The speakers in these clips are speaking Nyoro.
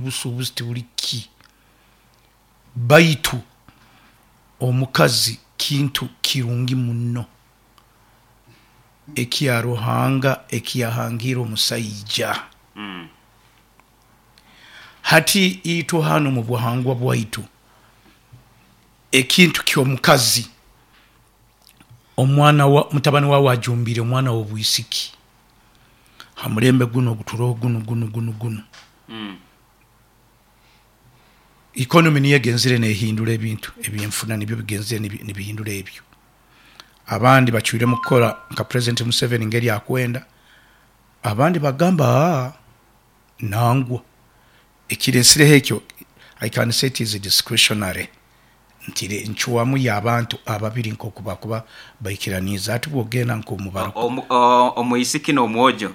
Obusuubuzi tibuli ki, baitu omukazi kintu kirungi muno ekya Ruhanga eki yahangiire omusaija. Hati itwe hanu omu buhangwa bwaitu, ekintu ky'omukazi, omwana wa mutabani waawe ajumbiire omwana w'obwisiki ha mulembe gunu oguturoho gunu gunu gunu gunu, economy niyo egenzere nehindura ebintu, ebyenfuna nibyo bigenzere nibihindura ebyo. Abandi bacwiremu kukora nka President Museveni ngeri akwenda, abandi bagamba aa nangwa. Ekiresireho ekyo I can say it is discretionary nti ncwamu y'abantu ababiri nkoku bakuba baikiraniize. Hati bwogenda nk'omu barokore. Omwisiki n'omwojo.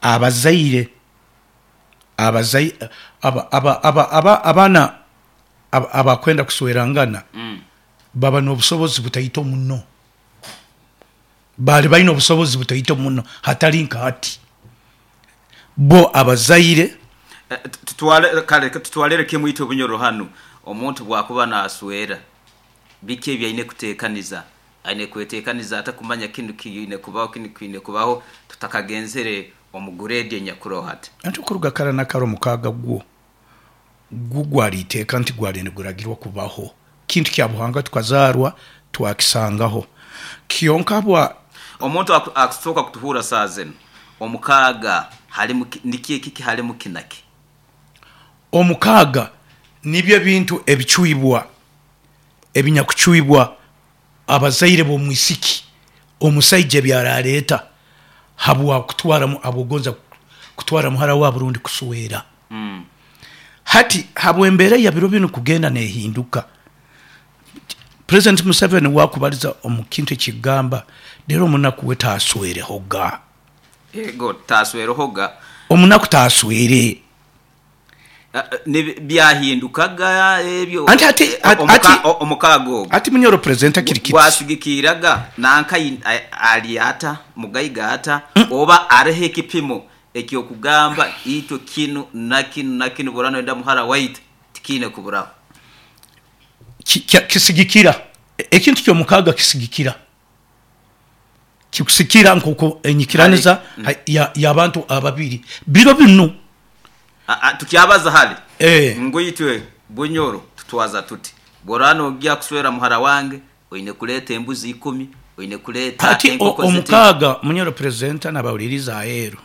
Abazaire abaana abakwenda kuswerangana baba n'obusobozi butaito muno. Baali baine obusobozi butaito muno hatali nka hati. Bo abazaire. Kale tutwalire kimu itwe Bunyoro hanu, omuntu bwakuba naswera biki ebi aine kutekaniza? Aine kwetekaniza ata kumanya kinu kiine kubaho, kinu kiine kubaho tutakagenzere omu gureedi enyakuroho hati? Anti okuruga kara na kara omukaaga gwo gwo gwali iteeka nti gwali niguragirwa kubaho. Kintu kya buhangwa tukazaarwa twakisangaho. Kyonka habwa. Omuntu akusooka kutuhuura saaha zinu, omukaaga halimu ki, niki ekiki halimu ki na ki? Omukaaga nibyo ebintu ebicwibwa, ebinyakucwibwa abazaire b'omwisiki omusaija ebi araaleeta habwa kutwara habw'okugonza kutwara muhara waabo rundi kuswera. Hati habw'embeera ya biro binu kugenda neehinduka, Purezidenti Museveni waakubaliza omu kintu ekikugamba reero omunaku we taaswerehoga. Ego, taaswerehoga. Omunaku taaswere. Byahindukaga ebyo. Anti hati hati Omukaaga ogwo. Hati Munyoro Purezidenti akiri kiti. Gwasigikiiraga nanka ali ata, mugaiga ata, oba aroho ekipimo eky'okugamba itwe kinu na kinu na kinu bw'oraba noyenda muhara waitu tikiine kuburaho. Kisigikira, ekintu ky'omukaaga kisigikira. Kikusikira nk'oku enyikiraniza y'abantu ababiri biro binu. Tukyabaza hali ngu itwe Bunyoro tutwaza tuti, bw'oraba nogya kuswera muhara wange oine kuleeta embuzi ikumi, oine kuleeta Hati enkoko ziti. omukaaga Munyoro Presenter n'abahuliriza aheeru,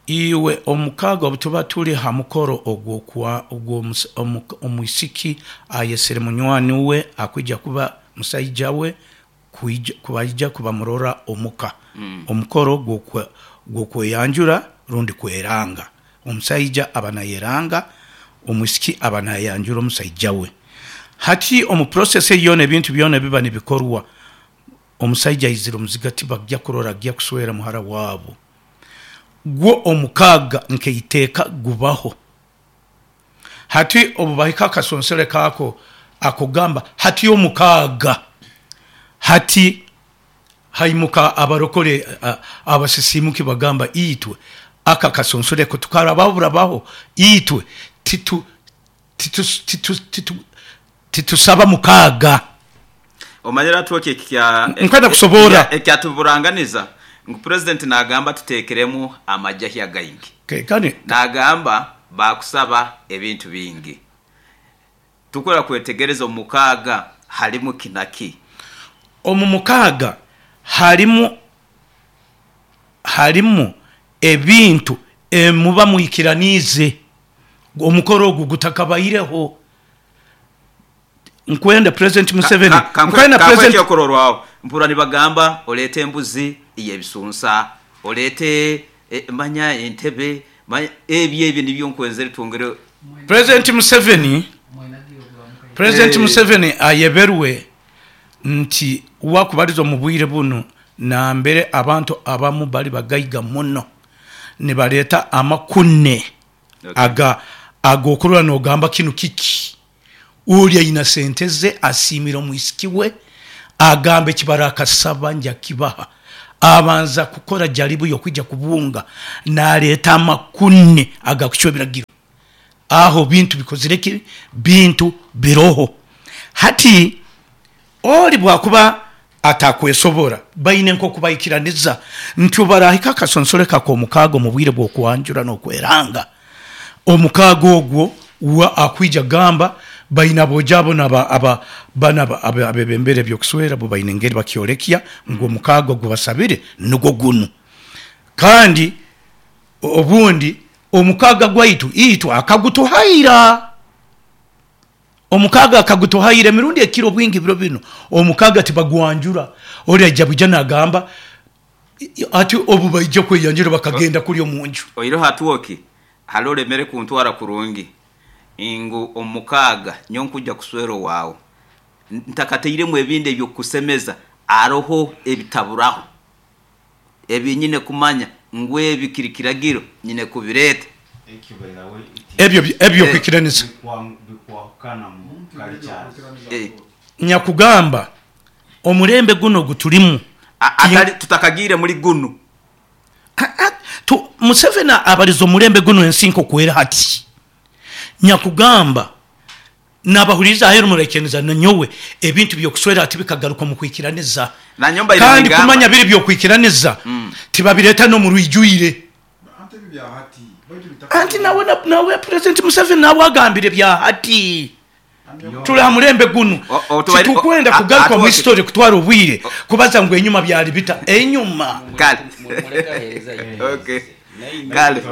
iwe omukaaga obu tuba tuli ha mukoro ogw'omwisiki ayesere munywani we akwija kuba musaija we kubaija kubamurora omuka. Omukoro gw'okweyanjura rundi kweranga. Omusaija aba nayeranga, omwisiki aba nayanjura omusaija we. Hati omu process eyo yoona ebintu byona ebiba nibikorwa, omusaija aizire omuziga tibagya kurora agya kuswera muhara waabo. Gwo omukaaga nk'eiteeka gubaho. Hati obu bahika akasonsereko ako ak'okugamba hati omukaaga, hati haimuka abarokore abasisiimuki bagamba itwe aka akasonsereko tukarabaho burabaho itwe titu titu titu titu titusaba mukaaga. Omanyire hati oti ekya Nkwenda kusoboora. Ekyatuburanganiza ngu Purezidenti nagamba tuteekeremu amajahya againgi. Kandi. Nagamba baakusaba ebintu bingi. Tukwenda kwetegereza omu mukaaga halimu ki na ki? Omu mukaaga halimu halimu ebintu emuba mwikiraniize omukoro ogu gutakabaireho. Nkwenda President Museveni, nkwenda Kankuhe President. ekyokurorwaho, mpurra nibagamba oleete embuzi ey'ebisunsa, oleete manya entebe, manya ebyo ebyo nibyo nkwenzere twongere. President Museveni, President Museveni ayeberwe nti wakubaliza omu bwire bunu nambere abantu abamu bali bagaiga muno nibaleeta amakune aga ag'okurora nogamba kinu kiki? Oli aina sente ze asiimire omwisiki we, agamba eki barakasaba nja kibaha. Abanza kukora jaribu y'okwija kubunga naleeta amakune agakucwa ebiragiro. Aho bintu bikozire ki? Bintu biroho. Hati ori bwakuba atakwesobora, baine nk'oku baikiraniza nti obu barahika akasonsoreko ak'omukaaga omu bwire bw'okwanjura n'okweranga, omukaaga ogwo uwe akwija kugamba baine aboojo abo naba aba banu abebembera eby'okuswera bo baine engeri bakyolekya ngu omukaaga ogu basabire nugwo gunu. Kandi obundi omukaaga gwaitu itwe akagutuhaira. Omukaaga akagutuhaira emirundi ekira obwingi biro binu omukaaga tibagwanjura, ori aija bwija nagamba ati obu baija kweyanjura bakagenda kuli omunju. Oihireho Atwoki, hali olemere kuntwara kurungi ngu omukaaga nyowe nkwija kuswera owaawe ntakatairemu ebindi eby'okukusemeza haroho ebitaburaho ebi nyine kumanya ngu ebi kiri kiragiro nyine kubireeta. Ebyo eby'okwikiraniza. Nyakugamba omulembe gunu ogutulimu. Atari tutakagiire muri gunu. Museveni abalize omulembe gunu ensi nk'oku eri hati. Nyakugamba nabahuliriza aheeru muraikiraniza nanyowe ebintu by'okuswera hati bikagaruka omu kwikiraniza. Nanyowe mbaire Kandi ningamba. kumanya biri by'okwikiraniza tibabireeta n'omu rwijwire. Anti nawe nawe Purezidenti Museveni nawe agambire bya hati. Turi ha mulembe gunu. Titukwenda kugaruka omu history kutwara obwire kubaza ngu enyuma byali bita. Enyuma. Kale. Okay. Kale.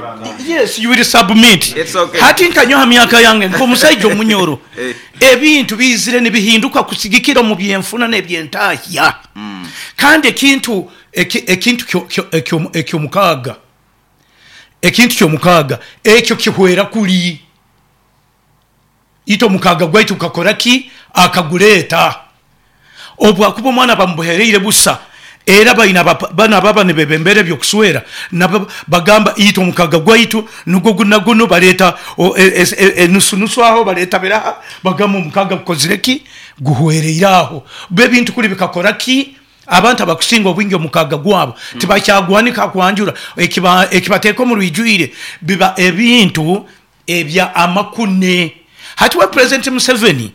Yes, you will submit. It's okay. Hati nka nyowe ha myaka yange nk'omusaija omunyoro, ebintu biizire nibihinduka kusigikira omu byenfuna n'ebyentahya. Kandi ekintu ekintu eky'omukaaga, ekintu ky'omukaaga ekyo kihwera kuri. Itwe omukaaga gwaitu gukakora ki? Akagureeta. Obwakuba omwana bamubuhereire busa, era baine banu ababa nibebembera eby'okuswera nabo bagamba itwe omukaaga gwaitu nugwo gunu na gunu, baleeta enusu nusu aho, baleeta biraha, bagamba omukaaga gukozire ki? Guhwereire aho. Bo ebintu kuri bikakora ki? Abantu abakusinga obwingi omukaaga gwabo tibakyaguhanika ha kwanjura, ekibateeka omu rwijwire biba ebintu ebya amakune. Hati we Purezidenti Museveni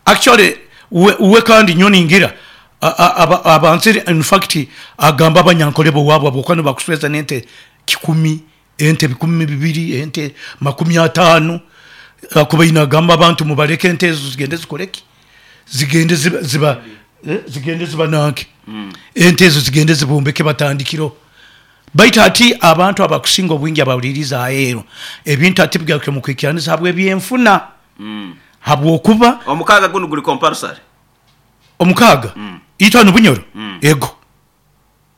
actually we kandi nyowe ningira abanzire in fact agamba Abanyankore b'owaabo habw'okuba nibakusweza n'ente kikumi, ente bikumi bibiri, ente makumi ataano, akubaire nagamba abantu mubaleke ente ezo zigende zikore ki? Zigende ziba zigende zibananke, ente ezo zigende zibombeke batandikireho. Baitu hati abantu abakusinga obwingi abahuliriize aheeru, ebintu hati bigarukire omu kwikiraniza habw'ebyenfuna. Habw'okuba. Omukaaga gunu guri compulsory? Omukaaga? Itwe hanu Bunyoro? Ego.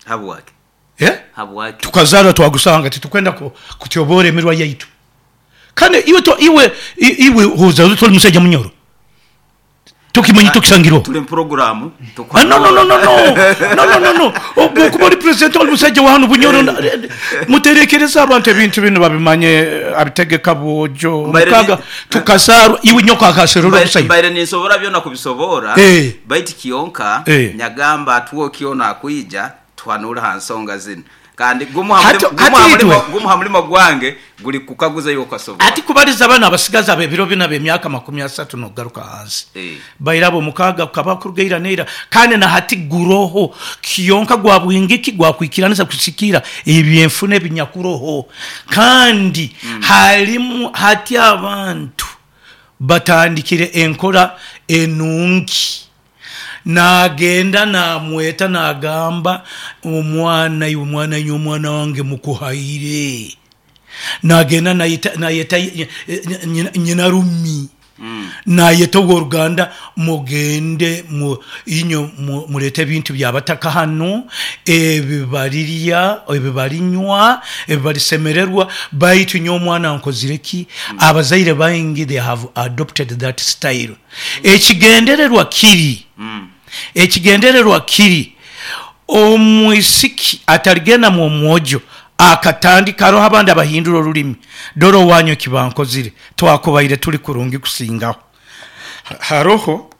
Habwaki? Eh? Habwaki? Tukazaarwa twagusanga, titukwenda kutyoboora emirwa yaitu. Kandi iwe iwe iwe ozairwe oti ori musaija Munyoro? Tokimanya tokisangirweho. Turi mu puroguramu. Ah, no, no, no, no, no. No, no, no, no. Obwo okuba ori president ori musajja wa hanu Bunyoro na- muterekereze abantu ebintu binu babimanye abitegeka bwojo Mbaire mukaga tukazaarwa iwe nyoko akaserora obusaija. Mbaire ninsobora byona kubisoboora, Eh. baitu kyonka Eh. nyagamba atwoki onu akwija tuhanuure ha nsonga zinu. Kandi gumu ha Hati mulimo, gumu hati ha mulimo, itwe gumu ha mulimo gwange guli kukaguza iwe okasobora. Hati kubaliza banu abasigazi ab'ebiro binu ab'emyaka makumi asatu n'okugaruka hansi, Eh. bairaba omukaaga gukaba kuruga ira n'eira kandi na hati guroho. Kyonka gwa bwingi ki? Gwa kwikiraniza kusikira eby'enfuna ebinyakuroho. Kandi halimu hati abantu batandikire enkora enungi. Naagenda naamweta naagamba, Omwana iwe, omwana iwe, omwana wange mukuhaire. Naagenda nayeta, nayeta nyinarumi, nayeta ow'oruganda, mugende inywe mureete ebintu by'abataka hanu, ebi barirya, ebi barinywa, ebi barisemererwa, baitu nyowe omwana nkozire ki? Abazaire baingi they have adopted that style. Ekigendererwa kiri, ekigendererwa kiri omwisiki atarigenda mu omwojo akatandika, haroho abandi abahindura orurimi, dora owanyu eki bankozire, twakubaire turi kurungi kusingaho. Haroho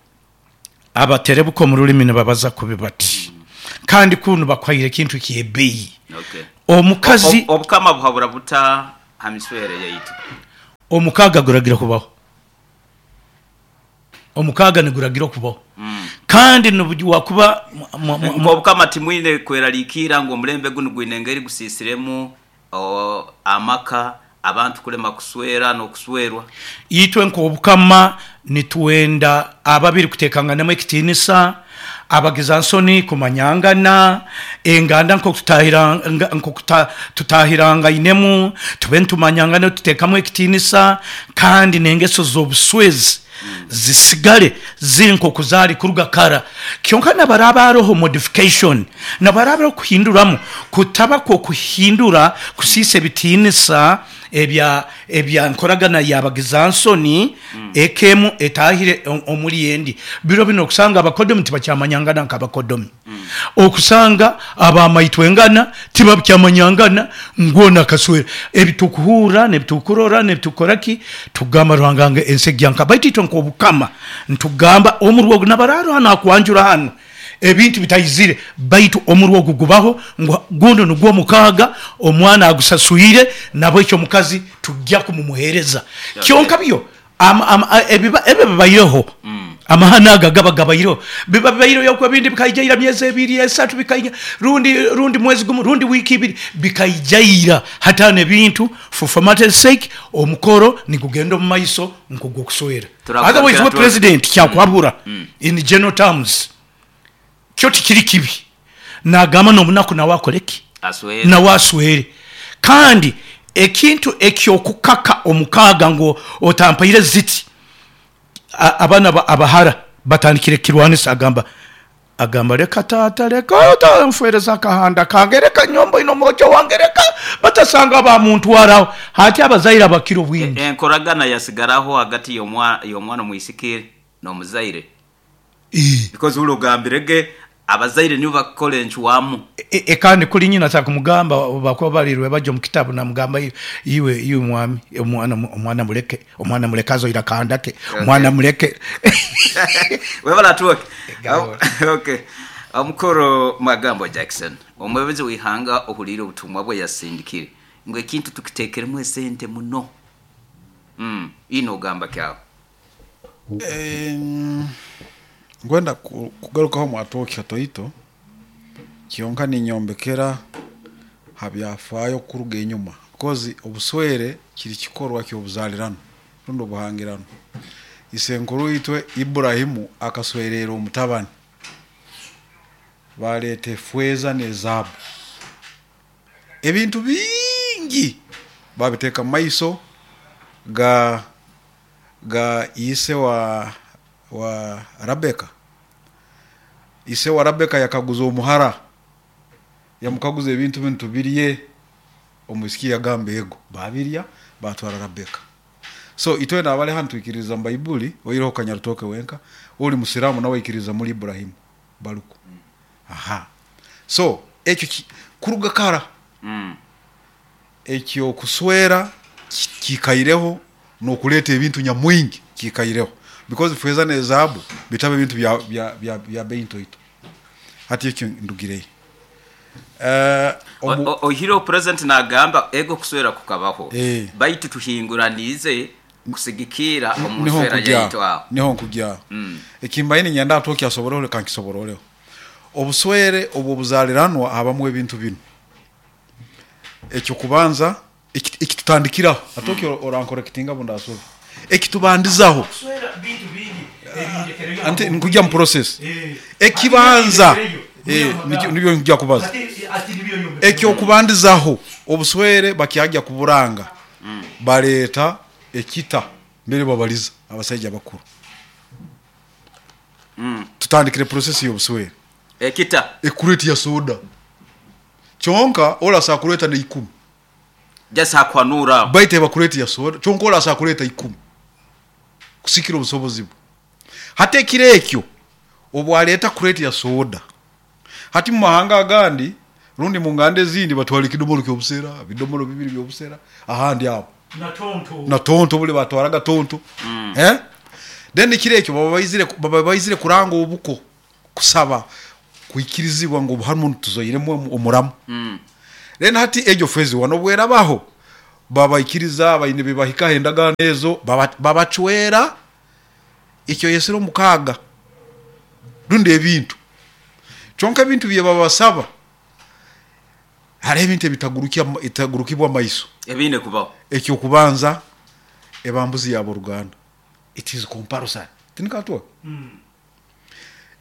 abaterebuka omu rurimi nibabaza kubi bati. Kandi kunu bakuhaire ekintu eky'ebbeeyi. Omukazi. Obukama buhabura buta ha miswere yaitu? Omukaaga guragira kubaho. Omukaaga niguragira okubaho. Kandi nobu wakuba. Nk'Obukama timwine kweraliikirra ngu omulembe gunu gwine engeri gusiisiremu amaka, abantu kulema kuswera n'okuswerwa. Itwe nk'Obukama nitwenda ababiri kuteekanganamu ekitiinisa, abagizansoni kumanyangana, enganda nk'oku tutahirangainemu tube nitumanyangana nituteekamu ekitiinisa kandi n'engeso z'obuswezi zisigale ziri nk'oku zaali kuruga kara. Kyonka nabaraaba haroho modification, nabaraaba haroho kuhinduramu, kutaba kw'okuhindura kusiisa ebitiinisa ebya ebya nkoragana y'abagizansoni eka emu etaahire omuri endi. Biro binu okusanga abakodomi tibakyamanyangana nk'abakodomi. Okusanga abamaitwengana tibakyamanyangana ngu onu akaswera. Ebitukuhurra n'ebitukurora n'ebitukukora ki, tugamba Ruhanga ngu ensi egya nkaha. Baitu itwe nk'Obukama nitugamba omurwa ogu nabaraaro hanu hakwanjura hanu ebintu bitaizire baitu omurwa ogu gubaho ngu gunu nugwo omukaaga omwana agusaswire nabwekyo omukazi tugya kumumuhereza. Kyonka byo ebyo bibaireho, amahano ago agaba gabaireho biba bibaireho ebindi bikaija ira myezi ebiri esatu bikaija rundi mwezi gumu rundi wiiki ibiri bikaija ira. Hati hanu ebintu for formality's sake omukoro nigugenda omu maiso nk'ogw'okuswera. Otherwise we Pulezidenti kyakuhabura in general terms kyo tikiri kibi. Nagamba n'omunaku nawe akole ki? Nawe aswere. Kandi ekintu eky'okukaka omukaaga ngu otampaire ziti, abaana abahara batandikire kukirwanisa agamba Agamba, Leka taata, leka otanfwereza akahanda kange, leka nyowe mboine omwojo wange, leka batasanga bamuntwaraho. Hati abazaire abakira obwingi. Enkoragana yasigaraho hagati y'omwana omwisiki n'omuzaire. Because huli ogambire ge abazaire nibo bakukora encwamu. Kandi kuli nyina atakumugamba obu bakuba bali rwebagyo omu kitabu namugamba iwe iwe mwami omwana omwana muleke omwana muleke azoire akahanda ke omwana muleke. Webale Atwoki. Okay. Omukuru Magambo Jackson, omwebembezi w'eihanga ohuliire obutumwa bwe yasindikire ngu ekintu tukitekeremu esente muno. Iwe nogamba ki aho? Nkwenda kugarukaho omu Atwoki hatoito, kyonka ninyombekera ha byafaayo kuruga enyuma because obuswere kiri kikorwa ky'obuzaalirano rundi obuhangirano. Isenkuru itwe Iburahimu akaswereera omutabani, baaleeta efeeza n'ezaabu, ebintu bingi baabiteeka mu maiso ga ga ise wa wa Rabeka. Ise wa Rabeka yakaguza omuhara, yamukaguza ebintu binu tubirye? Omwisiki yagamba ego. Babirya, batwara Rabeka. So itwena abali hanu twikiririza mu Baibuli, oihireho Kanyarutooke wenka, ori Musiraamu nawe aikiririza muli Iburahimu, Baruku. Aha. So ekyo kuruga kara, eky'okuswera kiikaireho n'okuleeta ebintu nyamwingi kiikaireho because feeza n'ezaabu bitaba ebintu bya beeyi ntoito. Hati ekyo ndugireyo. Oihireho purezidenti naagamba ego okuswera kukabaho baitu tuhinguraniize kusigikirra omu nswera yaitu aho. Niho nkugya aho. Eki mbaire niinyenda Atwoki asoboreho leka nkisobororeho. Obuswere obw'obuzaaliranwa habamu ebintu binu. Eky'okubanza ekitutandikiraho, Atwoki orankorekitinga obu ndasobe, ekitubandizaho, anti nkugya mu process, ekibanza nibyo nkugya kubaza, eky'okubandizaho obuswere bakyagya kuburanga baleeta ekita mbere babaliza abasaija abakuru. Tutandikire process y'obuswere. Ekita. Ekureti ya soda. Kyonka ole asobola kureeta n'eikumi. Just hakuhanuura aho. Baitu eba kureeti ya soda, kyonka ole asobola kureeta ikumi kusikira obusobozi bwe. Hati ekiro ekyo obu aleeta kureeti ya soda, hati mu mahanga agandi rundi mu nganda ezindi batwara ekidomoro ky'obusera, ebidomoro bibiri by'obusera, ahandi aho. Na tonto buli batwaraga tonto. Then ekiro ekyo baba baizire, baba baizire kuranga obuko, kusaba. Kwikirizibwa ngu hanu tuzoiremu omuramu. Then hati egyo phase one obu erabaho, babaikiriza baine bibahikaho endagaano ezo, babacwera eki oyesere omukaaga rundi ebintu. Kyonka ebintu byebabasaba, hariho ebintu ebitagurukibwa maiso. Ebiine kubaho. Eky'okubanza, eba mbuzi y'aboruganda. It is compulsory. Tinikatwa?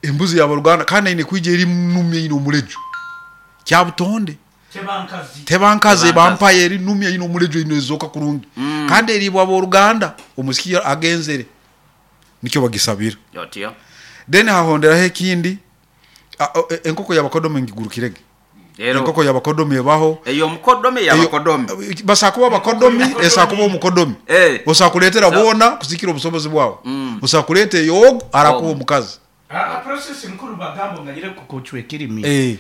Embuzi y'aboruganda kandi eine kwija eri numi eine omuleju. Kyabutonde. Teba nkazi, eba mpaya eri numi eine omuleju eine ezooka kurungi. Kandi eriibwa ab'oruganda omwisiki agenzere. Nikyo bagisabira. Otyo. Then hahonderaho ekindi, enkoko y'abakodomi ngigurukirege. Rero Enkoko y'abakodomi ebaho. Ey'omukodomi ey'abakodomi. Basobola kuba abakodomi, esobola kuba omukodomi. Eh. Osobola kuleetera So- boona kusikira obusobozi bwawe. Osobola kuleeta ey'ogu arakuha omukazi. Process nkuru bagamba onganyire kukucwa ekirimi. Eh.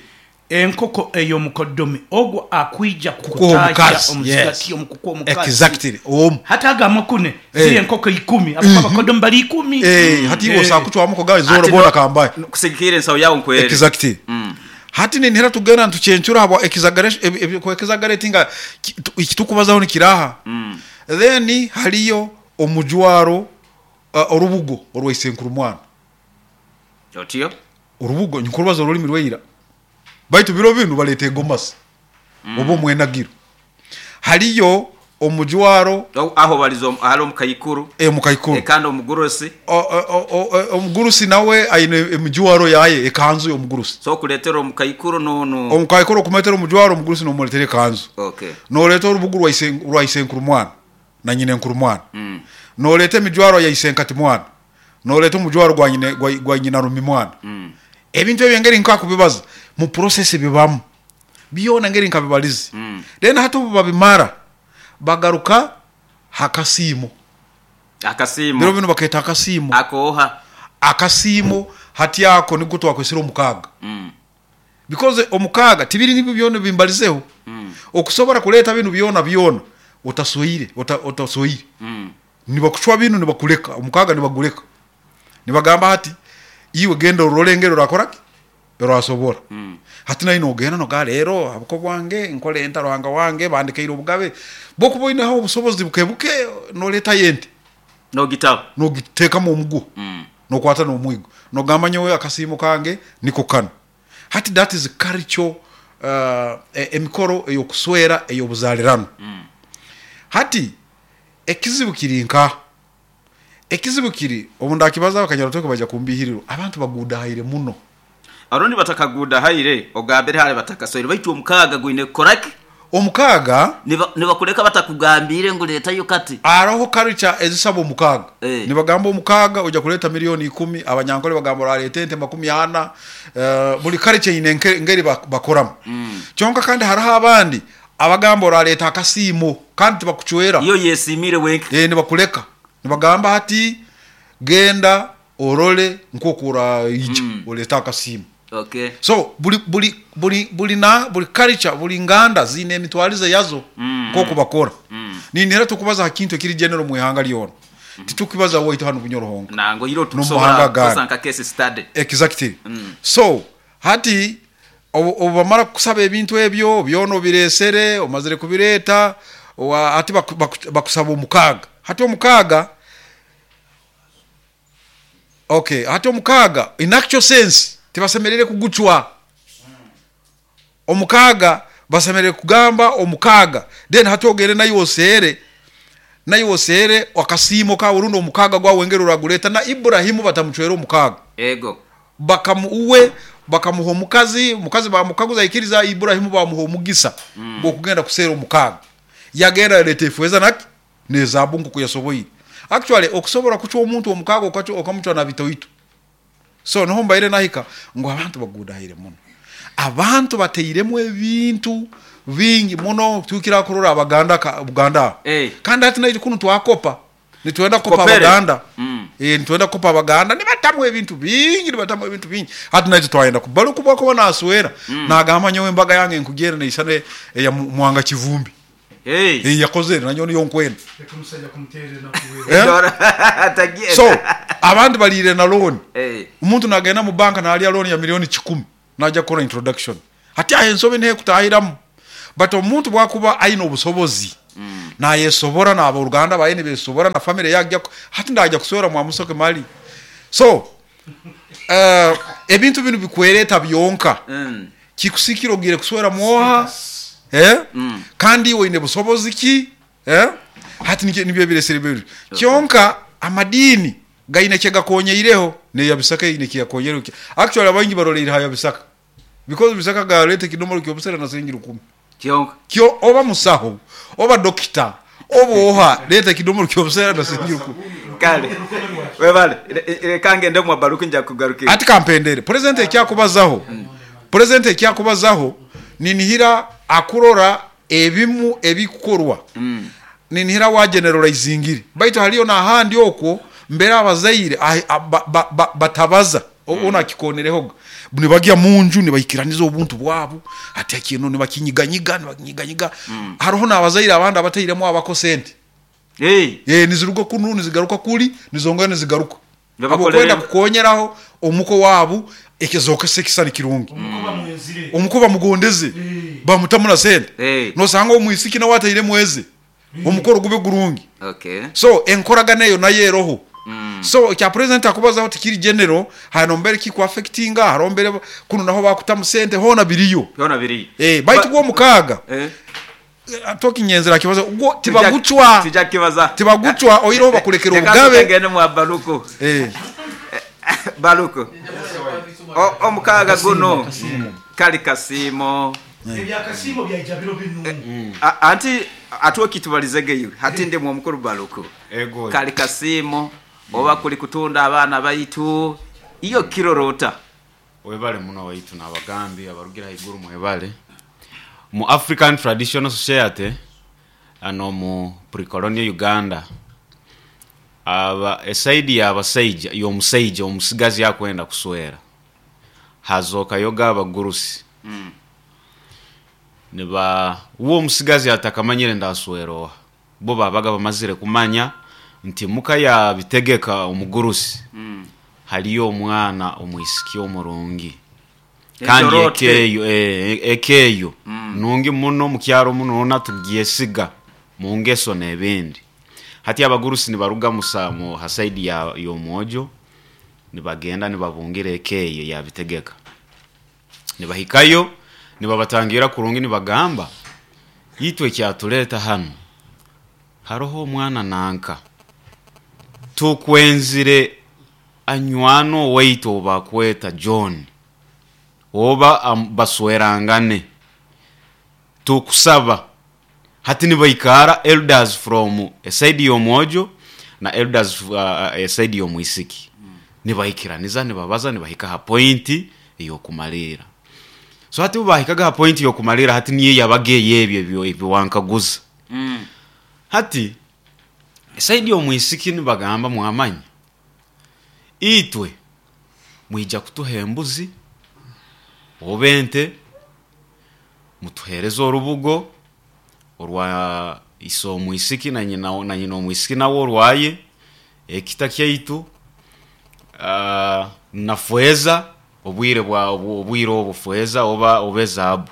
Enkoko ey'omukodomi ogwo akwija Kukuha kukutaahya omukazi. omu Yes. zigati omu kukuha omukazi. Exactly. Omu. Hati ago amakune ziri Eh. enkoko ikumi ahabw'okuba abakodomi bari ikumi. Eh, hati iwe Eh. osobola kucwamu kugamba zoona Ati boona kambahe. Kusigikirra ensaho yawe nkweri. Exactly. Hati ninihira tugenda nitucencura habwa exaggeratinga ekitukubazaho nikiraha. Then haliyo omujwaro orubugo orwa isenkuru mwana. Otyo? Orubugo nkurubaza orulimi rwaira. Baitu biro binu baleeta egomasi oba omwenagiro. Haliyo omujwaro. Aho baliza hali omukaikuru. Omukaikuru. Kandi omugurusi. Omugurusi nawe aine emijwaro yaye, ekanzu y'omugurusi. So okuleetera omukaikuru n'onu. Omukaikuru okumuleetera omujwaro, omugurusi n'omuleetera ekanzu. Okay. N'oleeta orubugu rwa isenkuru mwana na nyinenkuru mwana. N'oleeta emijwaro ya isenkati mwana. N'oleeta omujwaro gwa nyinarumi mwana. Ebintu ebyo engeri nkakubibaza, mu process bibamu. Byona engeri nkabibalize. Then hati obu babimara, bagaruka ha kasiimo. Akasiimo. Biro binu bakeeta akasiimo. Akooha? Akasiimo hati ako niko twakwesire omukaaga. Because omukaaga tibiri nibyo byona ebi mbalizeho. Okusobora kuleeta binu byona byona otasweire, otasweire. Nibakucwa binu nibakuleka, omukaaga nibaguleka. Nibagamba hati iwe genda orole engeri orakora ki? Orasobora. Hati naiwe nogenda nogamba reero ahabuko bwange nkore nta Ruhanga wange bandekaire obugabe. Bwokuba oineho obusobozi buke buke noreetayo ente. Nogitaho. Nogiteekamu omuguha. Nokwata n'omwigo. Nogamba nyowe akasiimo kange niko kanu. Hati that is culture emikoro ey'okuswera ey'obuzaalirano. Hati ekizibu kiri nkaha? Ekizibu kiri, obu ndakibazaho Kanyarutweko baija kumbiihirirwa, abantu baguudahaire muno. Orundi batakaguudahaire, ogambire hare batakaswaire, baitu omukaaga gwine kukora ki? Omukaaga. Nibakuleka batakugambiire ngu leetayo kati. Haroho culture ezisaba omukaaga. Nibagamba omukaaga oija kuleeta milioni ikumi, Abanyankore bagamba orareeta ente makumi ana. Buri culture eine engeri bakoramu. Kyonka kandi haroho abandi abagamba orareeta akasiimo kandi tibakucwera. Iyo oyesiimiire wenka. Nibakuleka. Nibagamba hati genda orole nk'oku oraija oleete akasiimo. Okay. So buri buri buri buri na buri culture buri nganda ziine emitwarize yazo nk'oku bakora. Ninihira tukubaza ha kintu ekiri general omu ihanga ryona. Titukukibaza waitu hanu Bunyoro honka. Nangwa iro N'omu tukusobora mahanga kukozesa agandi. nka case study. Exactly. So hati obu bamara kukusaba ebintu ebyo byona obireesere, omazire kubireeta, hati bakusaba omukaaga. Hati omukaaga, okay, hati omukaaga in actual sense tibasemeriire kugucwa. Omukaaga basemeriire kugamba omukaaga then hati ogende naiwe oseere, naiwe oseere akasiimo kaawe rundi omukaaga gwawe engeri oragureeta. Na Iburahimu batamucwere omukaaga. Ego. Bakamu, uwe bakamuha omukazi, omukazi baamukaguza yaikiriza, Iburahimu baamuha omugisa gw'okugenda kuseera omukaaga. Yagenda yaleeta efeeza na ki? N'ezaabu nk'oku yasoboire. Actually okusobora kucwa omuntu omukaaga okamucwa na bitoito. So niho mbaire nahika ngu abantu baguudahaire muno. Abantu batairemu ebintu bingi muno tuhikire aha kurora Abaganda Buganda aho. Kandi hati naitwe kunu twakopa. Nitwenda kukopa Tukopere. Abaganda. Nitwenda kukopa Abaganda nibatamu ebintu bingi, nibatamu ebintu bingi. Hati naitwe twayenda Baluku obu akuba naswera, nagamba nyowe embaga yange nkugyenda neisana eya Mwanga Kivumbi. Ei yakozere nanyowe niyo nkwenda. Leka omusaija kumuteera enaku we. So abandi baliire na looni. Omuntu nagenda mu banka nalya looni ya milioni kikumi. Naija kukora introduction. Hati aho ensobi niho ekutahiramu. But omuntu bwakuba aine obusobozi, nayesobora n'aboruganda baye nibesobora na family ye agya, hati ndagya kuswera mwamusoke mali. So, ebintu binu bikwereta byonka. Kikusikira ogiire kuswera mwoha, eh? Kandi iwe oine busobozi ki? Eh? Hati nikyo nibyo ebiresere ebyo. Kyonka amadiini gaine ekigakonyeireho, n'eya Bisaka eine ekiyakonyeireho. Actually abaingi baroleire ha ya Bisaka because Bisaka galeeta ekidomora ky'obusera na siringi rukumi. Kyonka. Kyo oba musaho, oba dokita, oba oha, leeta ekidomora ky'obusera na siringi rukumi. Kale webale leka ngende mwa Baruku nja kugarukira. Hati kampendere, Purezidenti ekyakubazaho, Purezidenti ekyakubazaho ninihira akurora ebimu ebikukorwa ninihira wageneralizingire baitu haliyo nahandi okwo mbere abazaire batabaza onu akikonerehoga nibagya munju nibaikiraniza obuntu bwabu hati kinu nibakinyiganyiga nibakinyiganyiga haroho nabazaire abandi abatairemu abako sente niziruga kunu nizigaruka kuli nizongera nizigaruka habwokwenda kukonyeraho omuko wabu ekizokesa ekisani kirungi. Omuko bamugondeze bamutamu na sente, nosanga omwisiki nawe atairemu eze omukoro gube gurungi. So enkoragana eyo nayo eroho. So ekya president akubazaho tikiri general, hariho mbere kiku affectinga, hariho mbere kunu naho bakutamu sente, hoona biriyo. Baitu gwo omukaaga Tokinyenzera kibazo gwo tibagucwa tibagucwa oihireho bakulekera obugabe. Tugende mwa Baruku. Baruku omukaaga guno kali kasiimo. Ebyakasiimo byaija biro binu. Anti ate okitubalizege iwe. Hati ndi mwomukuru Baruku. Kali kasiimo oba kuli kutunda abaana baitu iwe okirora ota? Webale muno waitu n'abagambi abarugire haiguru mwebale. Mu African Traditional Society n'omu pre-colonial Uganda, aba esaidi y'abasaija y'omusaija omusigazi akwenda kuswera, hazokayoga abagurusi niba uwe omusigazi atakamanyire ndaswera oha, bo babaga bamazire kumanya nti muka ya Bitegeka omugurusi haliyo omwana omwisiki omurungi kandi eka eyo eka eyo nungi muno omu kyaro muno hoona tugyesiga mu ngeso n'ebindi. Hati abagurusi nibaruga mu ha saidi y'omwojo nibagenda nibabungira eka eyo eya Bitegeka. Nibahikayo nibabatangiira kurungi nibagamba, Itwe ekyatuleeta hanu, haroho omwana nanka, tukwenzire anywane owaitu ou bakweta John, oba baswerangane. Tukusaba. Hati nibaikara elders from eside y'omwojo na elders eside y'omwisiki. Nibaikiraniza nibabaza nibahika ha point ey'okumaliira. So hati obu baahikaga ha point y'okumaliira hati niyo yabaga ey'ebyo ebi wankaguza. Hati eside y'omwisiki nibagamba mwamanya itwe mwija kutuha embuzi oba ente, mutuheereze orubugo orwa ise omwisiki na nyina na nyina omwisiki nawe orwaye, ekita kyaitu, na feeza, obwire bwa obwire obu feeza oba oba ezaabu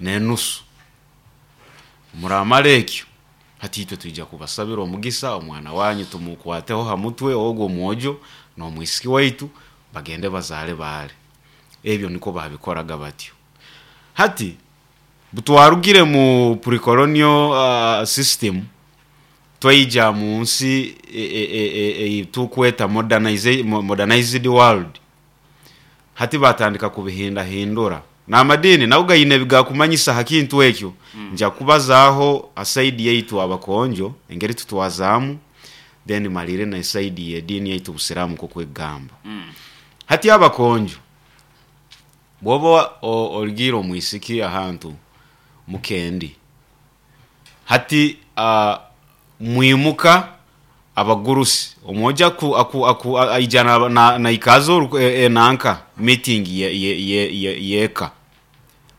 n'enusu. Muramara ekyo, hati itwe twija kubasabira omugisa, omwana wanyu tumukwateho ha mutwe ogu omwojo n'omwisiki waitu bagende bazaale baale. Ebyo nikwo baabikoraga batyo. Hati butwarugire mu pre-colonial system twaija mu nsi ei tukweta modernized world, hati baatandika kubihindahindura. N'amadiini nago gaine ebi gaakumanyisa ha kintu ekyo. Nja kubazaaho ha saidi yaitu Abakonjo engeri tutwazaamu then maliire n'esaidi y'ediini yaitu Busiraamu nk'oku ekugamba. Hati Abakonjo, bw'oba origiire omwisiki ahantu mukendi, hati mwimuka abagurusi, omwojo aija naikaaza enanka meeting y'eka,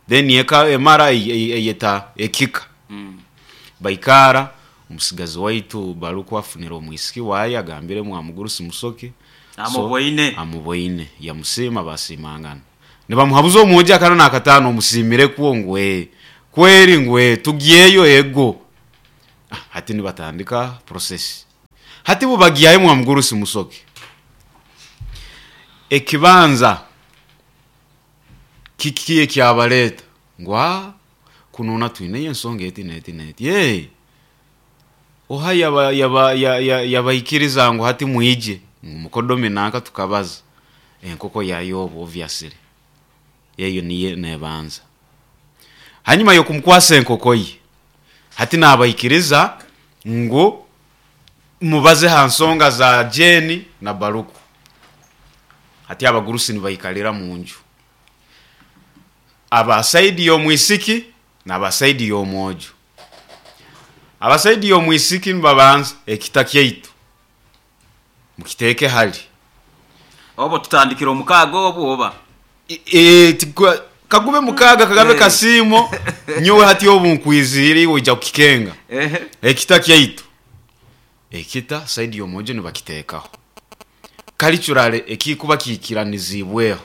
then eka emara eyeta ekika, baikaara, omusigazi waitu Baluku afunire omwisiki waaye agambire mwamugurusi Musoke, so Amuboine. amuboine, yamusiima basiimangana. Nibamuhabuza omwojo akana n'akataano omusiimirekwo ngu ee kweri ngu ee tugyeyo ego. Hati nibatandika process. Hati bubagyayo mwamugurusi Musoke. Ekibanza kiki ekyabaleta? Ngu aa kunuuna twineyo ensonga eti n'eti n'eti. Ee oha yaba yaba yabaikiriza ngu hati mwije? Ngu mukodomi nanka tukabaza. Enkoko ya yobu obviously. Eyo niyo nebanza. Hanyuma y'okumukwasa enkoko ye, hati nabaikiriza ngu mubaze ha nsonga za Jane na Baruku. Hati abagurusi nibaikalira munju. Aba saidi y'omwisiki n'aba saidi y'omwojo. Aba saidi y'omwisiki nibabanza ekita kyaitu mukiteeke hali. Obu tutandikire omukaaga obu oba? Kagube mukaaga kagabe kasiimo, nyowe hati obu nkwiziire iwe oija kukikenga. Ekita kyaitu, ekita saidi y'omwojo nibakiteekaho. Culturally ekikuba kiikiraniziibweho,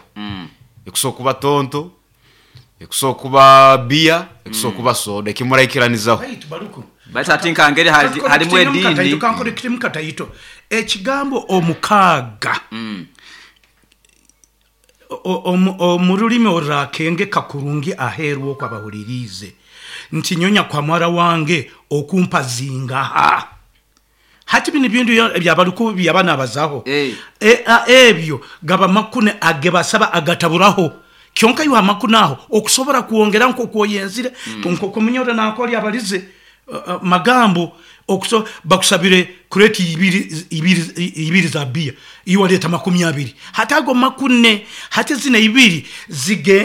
ekusobola kuba tonto, ekusobola kuba beer, ekusobola kuba soda, eki muraikiranizaho. Baitu Baruku, Baitu hati nkangeri harimu ediini. Kankore kataito, ekigambo omukaaga omu rurimi orurakengeka kurungi aheeru oku abahuririize, nti nyonya kwa muhara wange okumpa zingaha? Hati binu ebintu ebya Baruku ebi yaba nabazaho, ebyo gaba makune agebasaba agataburaho. Kyonka iwe amakune aho okusobora kwongera nk'oku oyenzire, nk'oku omunyoro nankoli abalize magambo, bakusabire kureti ibiri za biya, iwe waleta 20. Hati ago makune, hati zino ibiri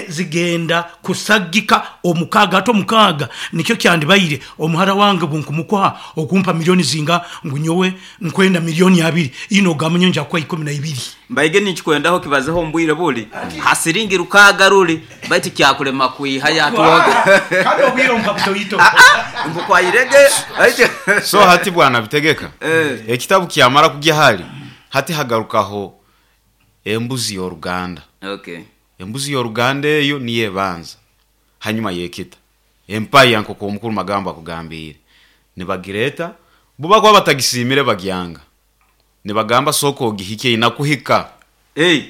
zigenda kusagika omukaaga. Hati omukaaga nikyo kyandibaire omuhara wange obunkumukuha okumpa milioni zinga, ngu nyowe nkwenda milioni 2, ino ogamba nyowe nja kukuha 12. Mbaige ninkikwendaho kibazeho omu bwire buli ha siringi 6 ruli, baitu kyakulema kwihayo atwoge. Kandi obwire ompa butoito. Mbukwayirege. So hati bwana Bitegeka, ekitabu kyamara kugya hali, hati hagarukaho embuzi y'oruganda. Embuzi y'oruganda eyo niyo ebanza hanyuma y'ekita. Empaya nk'oku omukuru Magambo akugambiire, nibagireeta, bo bakuba batagisiimire bagyanga. Nibagamba sooka ogihikye inakuhika.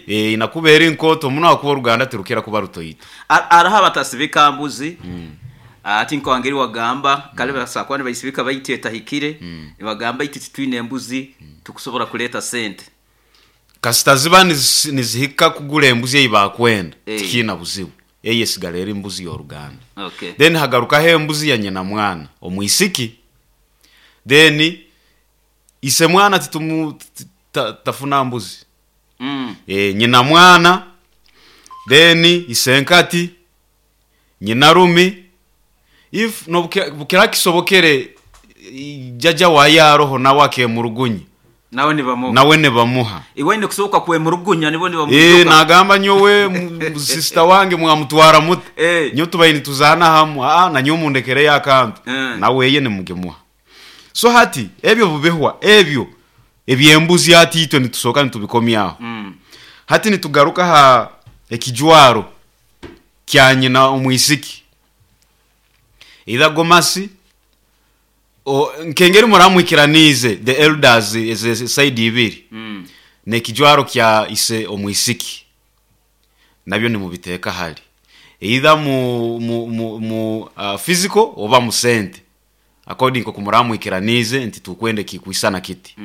Inakuba eri nkooto muno ahakuba oruganda tirukira kuba rutoito. Hariho abatasibika mbuzi, ati nkangeri wagamba, kale basobola kuba nibaisibika baitu etahikire, nibagamba itwe titwine embuzi tukusobora kuleeta sente. Kasita ziba nizihika kugura embuzi ei bakwenda, tikiina buzibu. Eyo esigara eri mbuzi y'oruganda. Then hagarukaho embuzi ya nyina mwana, omwisiki. Then ise mwana titumu tafuna mbuzi. Nyina mwana, then isenkati, nyina rumi, if nobukira kisobokere jaja waye aroho nawe akemurugunya. Nawe nibamuha. Nawe nibamuha. Iwe aine kusoboka kwemurugunya nibo nibamwijuka. Nagamba nyowe sister wange mwamutwara muta? Nyowe tubaire nituzaana hamu, nanyowe mundekereyo akantu. Nawe eye nimugimuha. So hati ebyo bubihwa ebyo eby'embuzi hati itwe nitusoka nitubikomyaho. Hati nitugaruka ha ekijwaro kya nyina omwisiki. Either gomasi, nkengeri muramwikiraniize the elders eze side ibiri, n'ekijwaro kya ise omwisiki nabyo nimubiteeka hali either mu physical oba mu sente according nkoku muramwikiraniize nti tukwenda ekikwisana kiti.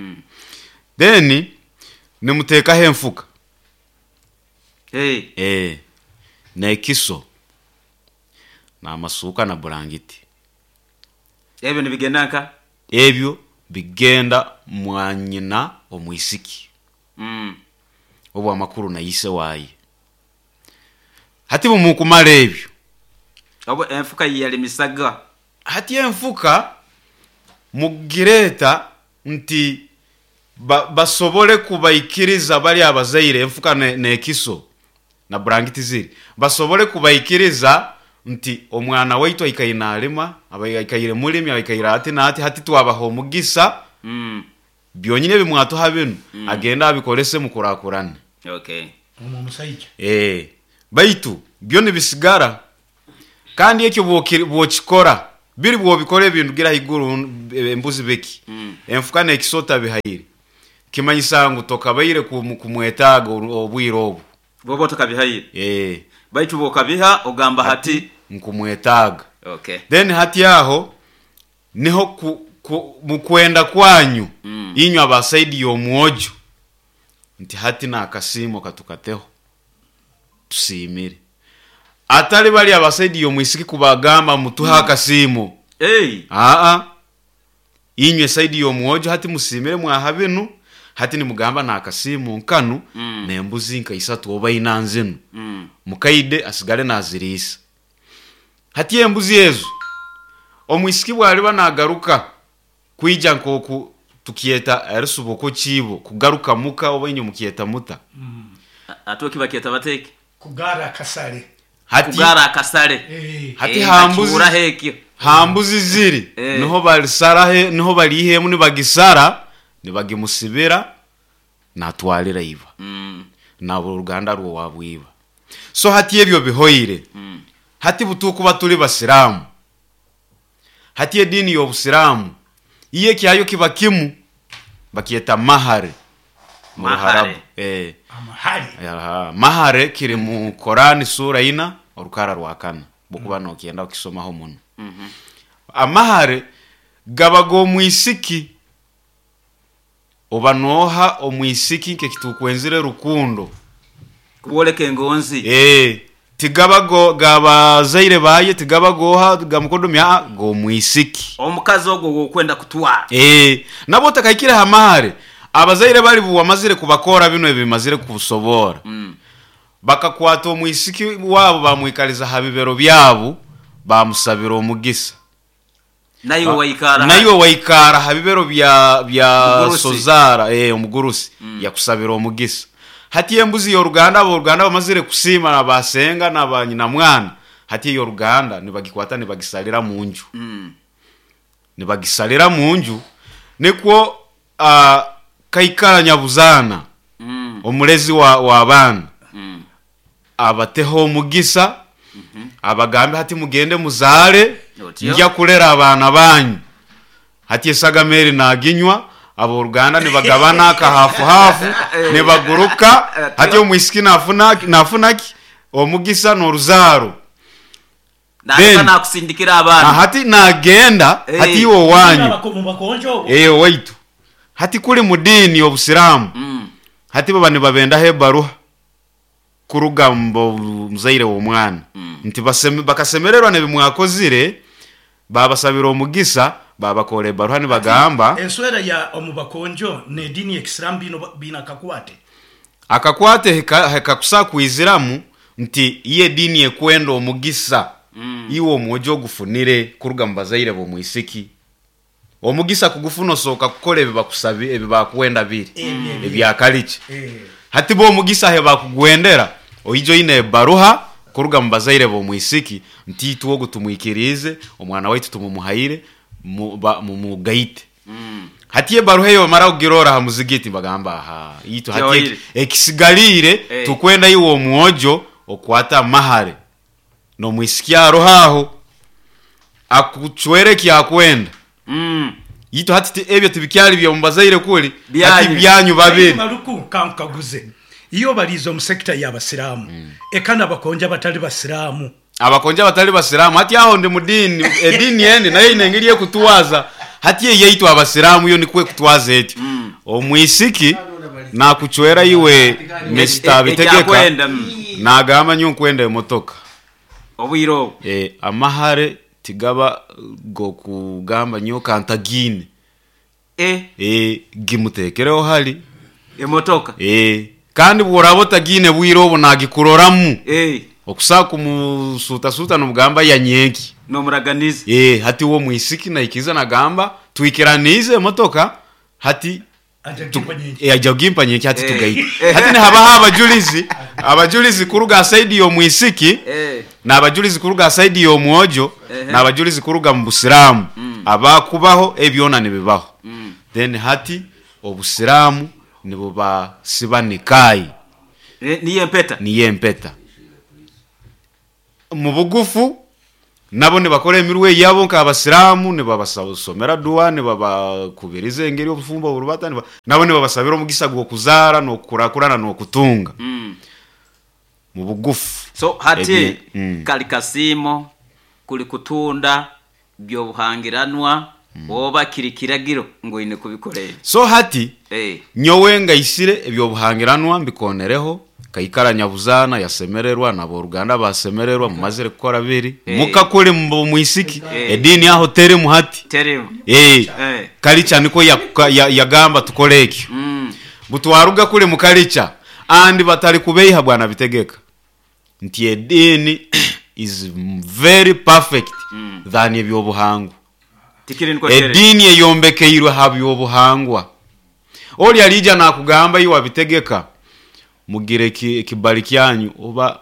Then nimuteekaho enfuka. N'ekiso n'amasuuka na burangiti. Ebyo nibigenda nka? Ebyo bigenda mwanyina omwisiki. Obu amakuru na ise waye. Hati bumukumara ebyo. Obu enfuka yiyalimisaga. Hati enfuka mugireta nti basobole kubaikiriza bali abazaire enfuka n'ekiso na burangiti ziri. Basobole kubaikiriza nti omwana waitu aikaire nalima, aikaire mulimi, aikaire ati n'ati, hati twabaha omugisa. Byonyini ebi mwatuha binu, agenda abikorese mukurakurane. Omu omusaija. Baitu byo nibisigara. Kandi ekyo bwokikora, biri bwobikora ebindugira haiguru embuzi biki, enfuka n'ekisota bihaire, kimanyisa ngu tokabaire kumwetaaga obwire obu. Bwoba otakabihaire. Eeh. Baitu bwokabiha ogamba hati. Nkumwetaaga. Okay. Then hati aho niho ku, ku, mukwenda kwanyu inywe aba side y'omwojo nti hati n'akasiimo katukateho tusiimire. Atari bari aba side y'omwisiki kubagamba mutuhe akasiimo. Hey. Aa, inywe side y'omwojo hati musiimire mwaha binu, hati nimugamba n'akasiimo nkanu n'embuzi nka isatu oba ina nzinu. Mukaide asigale naziriisa. Hati embuzi ezo, omwisiki bw'aliba naagaruka kwija nk'oku tukyeta erisuba kiibo, kugaruka muka oba inywe mukyeta muta? Ate oki bakyeta bata eki? Kugaara akasale. Hati, Kugaara akasale. Hati Eh, ha mbuzi, nkakihuuraho ekyo. ha mbuzi ziri Eh. niho balisara, niho baliiha emu nibagisara, nibagimusibira, natwalira iba. N'aboruganda rw'owabu iba. So hati ebyo bihoire. Hati butukuba tuli Basiraamu, hati ediini y'Obusiraamu iyo ekyayo kiba kimu, bakyeta mahare mu Mahare. Ruharabu. Eh. Amahare. Aha, mahare kiri mu Korani sura ina orukara rwa kana bwokuba nokyenda kukisomaho muno. Amahare gaba g'omwisiki oba noha omwisiki nk'ekitukwenzire rukundo. Kuboleka engonzi. Eh, tigaba go gabazaire baye, tigaba goha gamukodomi, aa, g'omwisiki. Omukazi ogwo gwokwenda kutwara. Eh, nabo otakahikire ha mahare, abazaire bari buwamazire kubakora bino ebimazire kusobora. Bakakwata omwisiki wabo bamwikaliza ha bibero byabo, bamusabira omugisa. Naiwe waikara. Naiwe waikara ha bibero bya Omugurusi. Sozara, omugurusi yakusabira omugisa. Hati embuzi y'oruganda, aboruganda bamazire kusiima na basenga na banyina mwana, hati ey'oruganda nibagikwata nibagisalira mu nju. Nibagisalira mu nju nikwo kaikara nyabuzaana omulezi wa baana abateho omugisa, abagambe hati mugende muzaare, Otyo. nja kulera abaana banyu. Hati esagama eri naginywa, aboruganda nibagabana akahafuhafu, nibaguruka. Hati omwisiki nafunaki omugisa n'oruzaaro. Naaba Then- nakusindikira abaana. Hati nagenda Eh. hati iwe owanyu. Mu bakonjo obo. Waitu. Hati kuli mu diini y'Obusiraamu. Hati baba nibabendaho ebaruha kuruga mu muzaire w'omwana. Nti bakasemererwa n'ebimwakozire, babasabira omugisa, babakora ebaruha nibagamba. Enswera ya omu bakonjo n'ediini y'Ekisiraamu bino bina akakwate. Akakwate hekakusa kwiziramu nti iye ediini ekwenda omugisa. Iwe omwojo ogufunire kuruga mu bazaire b'omwisiki. Omugisa kugufuna osooka kukora ebibakusabi, ebibakwenda biri. Ebyakaliki. Hati bo omugisa he bakugwendera, oijo ine ebaruha kuruga mu bazaire b'omwisiki nti itwe ogu tumwikirize, omwana waitu tumumuhaire, mumugaite. Hati ebaruha eyo bamara kugirora ha muzigiti bagamba aha, itu hati Kyoire. ekisigaliire tukwenda iwe omwojo okwata amahare n'omwisiki aroho aho akucwere ekyakwenda. Itu hati ebyo tibikyali bya mubazaire kuli, Byanyu. hati byanyu babiri. Maluku kankaguze. Iyo balizo mu sekta y'Abasiraamu. Eka n'abakonja batali Basiraamu. Abakonja batali Basiraamu hati aho ndi mudini, edini eni nayo ine engeri ekutwaza. Hati eyaitu Abasiraamu yo nikwe kutwaza etyo. Omwisiki nakucwera iwe Mister Bitegeka. Ekyakwenda, Nagamba nyo nkwenda emotoka. Obwire obwo. Amahare tigaba gokugamba nyo kantagine. Gimutekereho hali. Emotoka. Kandi bworaba otagine bwire obwo nagikuroramu. Okusa kumusuta-suta nomugamba yanyenki. Nomuraganiza. Hati wo mwisiki naikiza nagamba twikiranize emotoka hati Aja gimpa nyenki. Aja gimpa nyenki hati tugaite. Hati nihabaho abajulizi, abajulizi kuruga side y'omwisiki, n'abajulizi kuruga side y'omwojo, n'abajulizi kuruga mu Busiraamu. Abakubaho ebyona nibibaho. Then hati Obusiraamu nibubasiba nikayi. Niyo empeta. Niyo empeta. Mu bugufu nabo nibakora emirwe yabo nk'abasiraamu, nibabasomera dua, nibabakubiriza engeri obufumbo burubata, nabo nibabasabira omugisa gw'okuzaara n'okukurakurana n'okutunga. Mu bugufu. So hati kali kasiimo kuli kutunda byobuhangiranwa oba kiri kiragiro ngu oine kubikora ebi. So hati nyowe ngaisire ebyobuhangiranwa mbikonereho, kaikara nyabuzaana yasemererwa n'aboruganda basemererwa, mumazire kukora biri mukakule mwisiki ediini aho terimu hati. Terimu. Kalicha niko yagamba tukole ekyo. Butwaruga kule mukalicha andi batali kubeiha bwana bitegeka nti ediini is very perfect than ebyobuhangwa. Ediini eyombekeirwe ha byobuhangwa. Oli alija nakugamba iwe abitegeka mugire ekibali kyanyu oba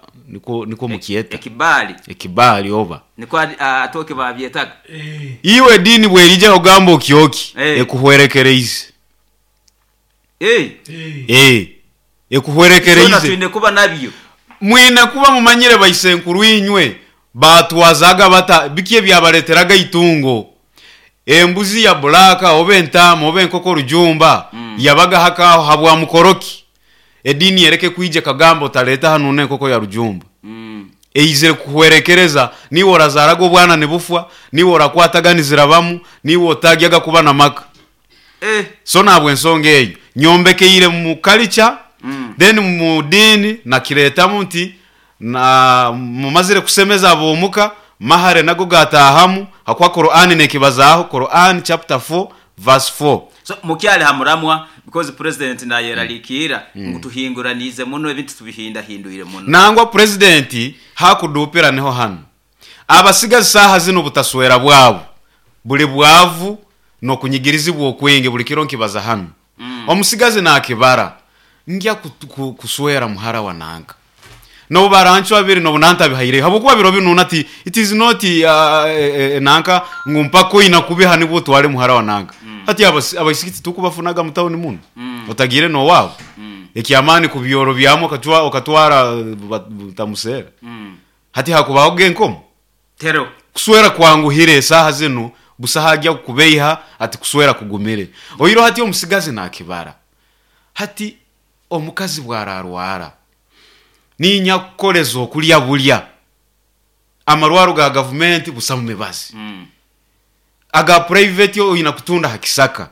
niko mukyeta ekibali. Ekibali oba niko atoke babyetaga. Iwe dini bwerija ogamba okyoki ekuhwerekereize. Ekuhwerekereize. Twine kuba nabyo. Mwine kuba mumanyire baisenkuru inywe batwazaga bata biki ebyabaleteraga itungo. Embuzi ya bulaka oba entaama oba enkoko rujumba yabaga hakaho habwa mukoroki. Edini yereke kuija kagamba otaleta hano n'enkoko ya rujumba. Eizire kuhwerekereza, niwe orazaraga obwana nibufwa, niwe orakwataganizira bamu, niwe otagyaga kuba na maka. So nabwe ensonga eyo nyombekeire mu culture, then mu dini nakiretamu nti na mumazire kusemeza abomuka mahare nago gatahamu hakwa Qur'an nekibazaho Qur'an chapter 4 verse 4. So mukyali hamuramwa because president nayeralikira ngu tuhinguranize muno ebintu tubihinda hinduire muno. Nangwa president hakudupira niho hano abasigazi saha zino butaswera bwabo buli bwavu no kunyigirizibwa okwenge buli kiro nkibaza hano. Omusigazi nakibara ngya kuswera muhara wa nanka no barancho abiri no bunanta bihaire habukuba biro binuna ati it is not nanka ngumpako ina kubiha nibwo twale muhara wa nanka. Hati abasikiti tukubafunaga mutawuni muno otagire no wabo ekyamani ku byoro byamo okatwa okatwara tamusera. Hati hakubaho genkomo tero kuswera kwanguhire saha zino busahajya kubeiha ati kuswera kugumire oyiro. Hati omusigazi nakibara hati omukazi bwararwara ninya kukoleza okulya bulya amarwaro ga government busamu mibazi aga private oyina kutunda hakisaka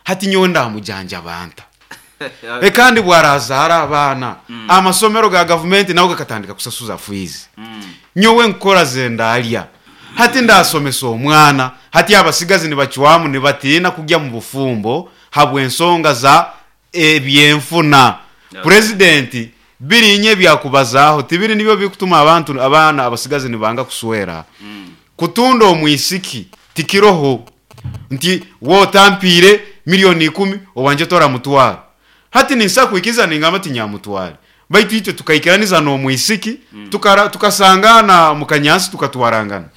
hati nyowe ndamujanja banta. Kandi bwarazara abana amasomero ga government nawo gakatandika kusasuza fees. Nyowe nkora zendalya hati ndasomesa omwana. Hati abasigazi nibachwamu nibatina kujya mu bufumbo habwe ensonga za ebyenfuna. President birinye byakubazaho tibiri nibyo bikutuma abantu abana abasigazi nibanga kuswera. Kutunda omwisiki tikiroho nti wotampire milioni 10 owanje tora mutwara. Hati ninsa kuikiza ningamba tinyamutware baitu itwe tukaikiraniza no mwisiki tukasangana mukanyansi tukatwarangana.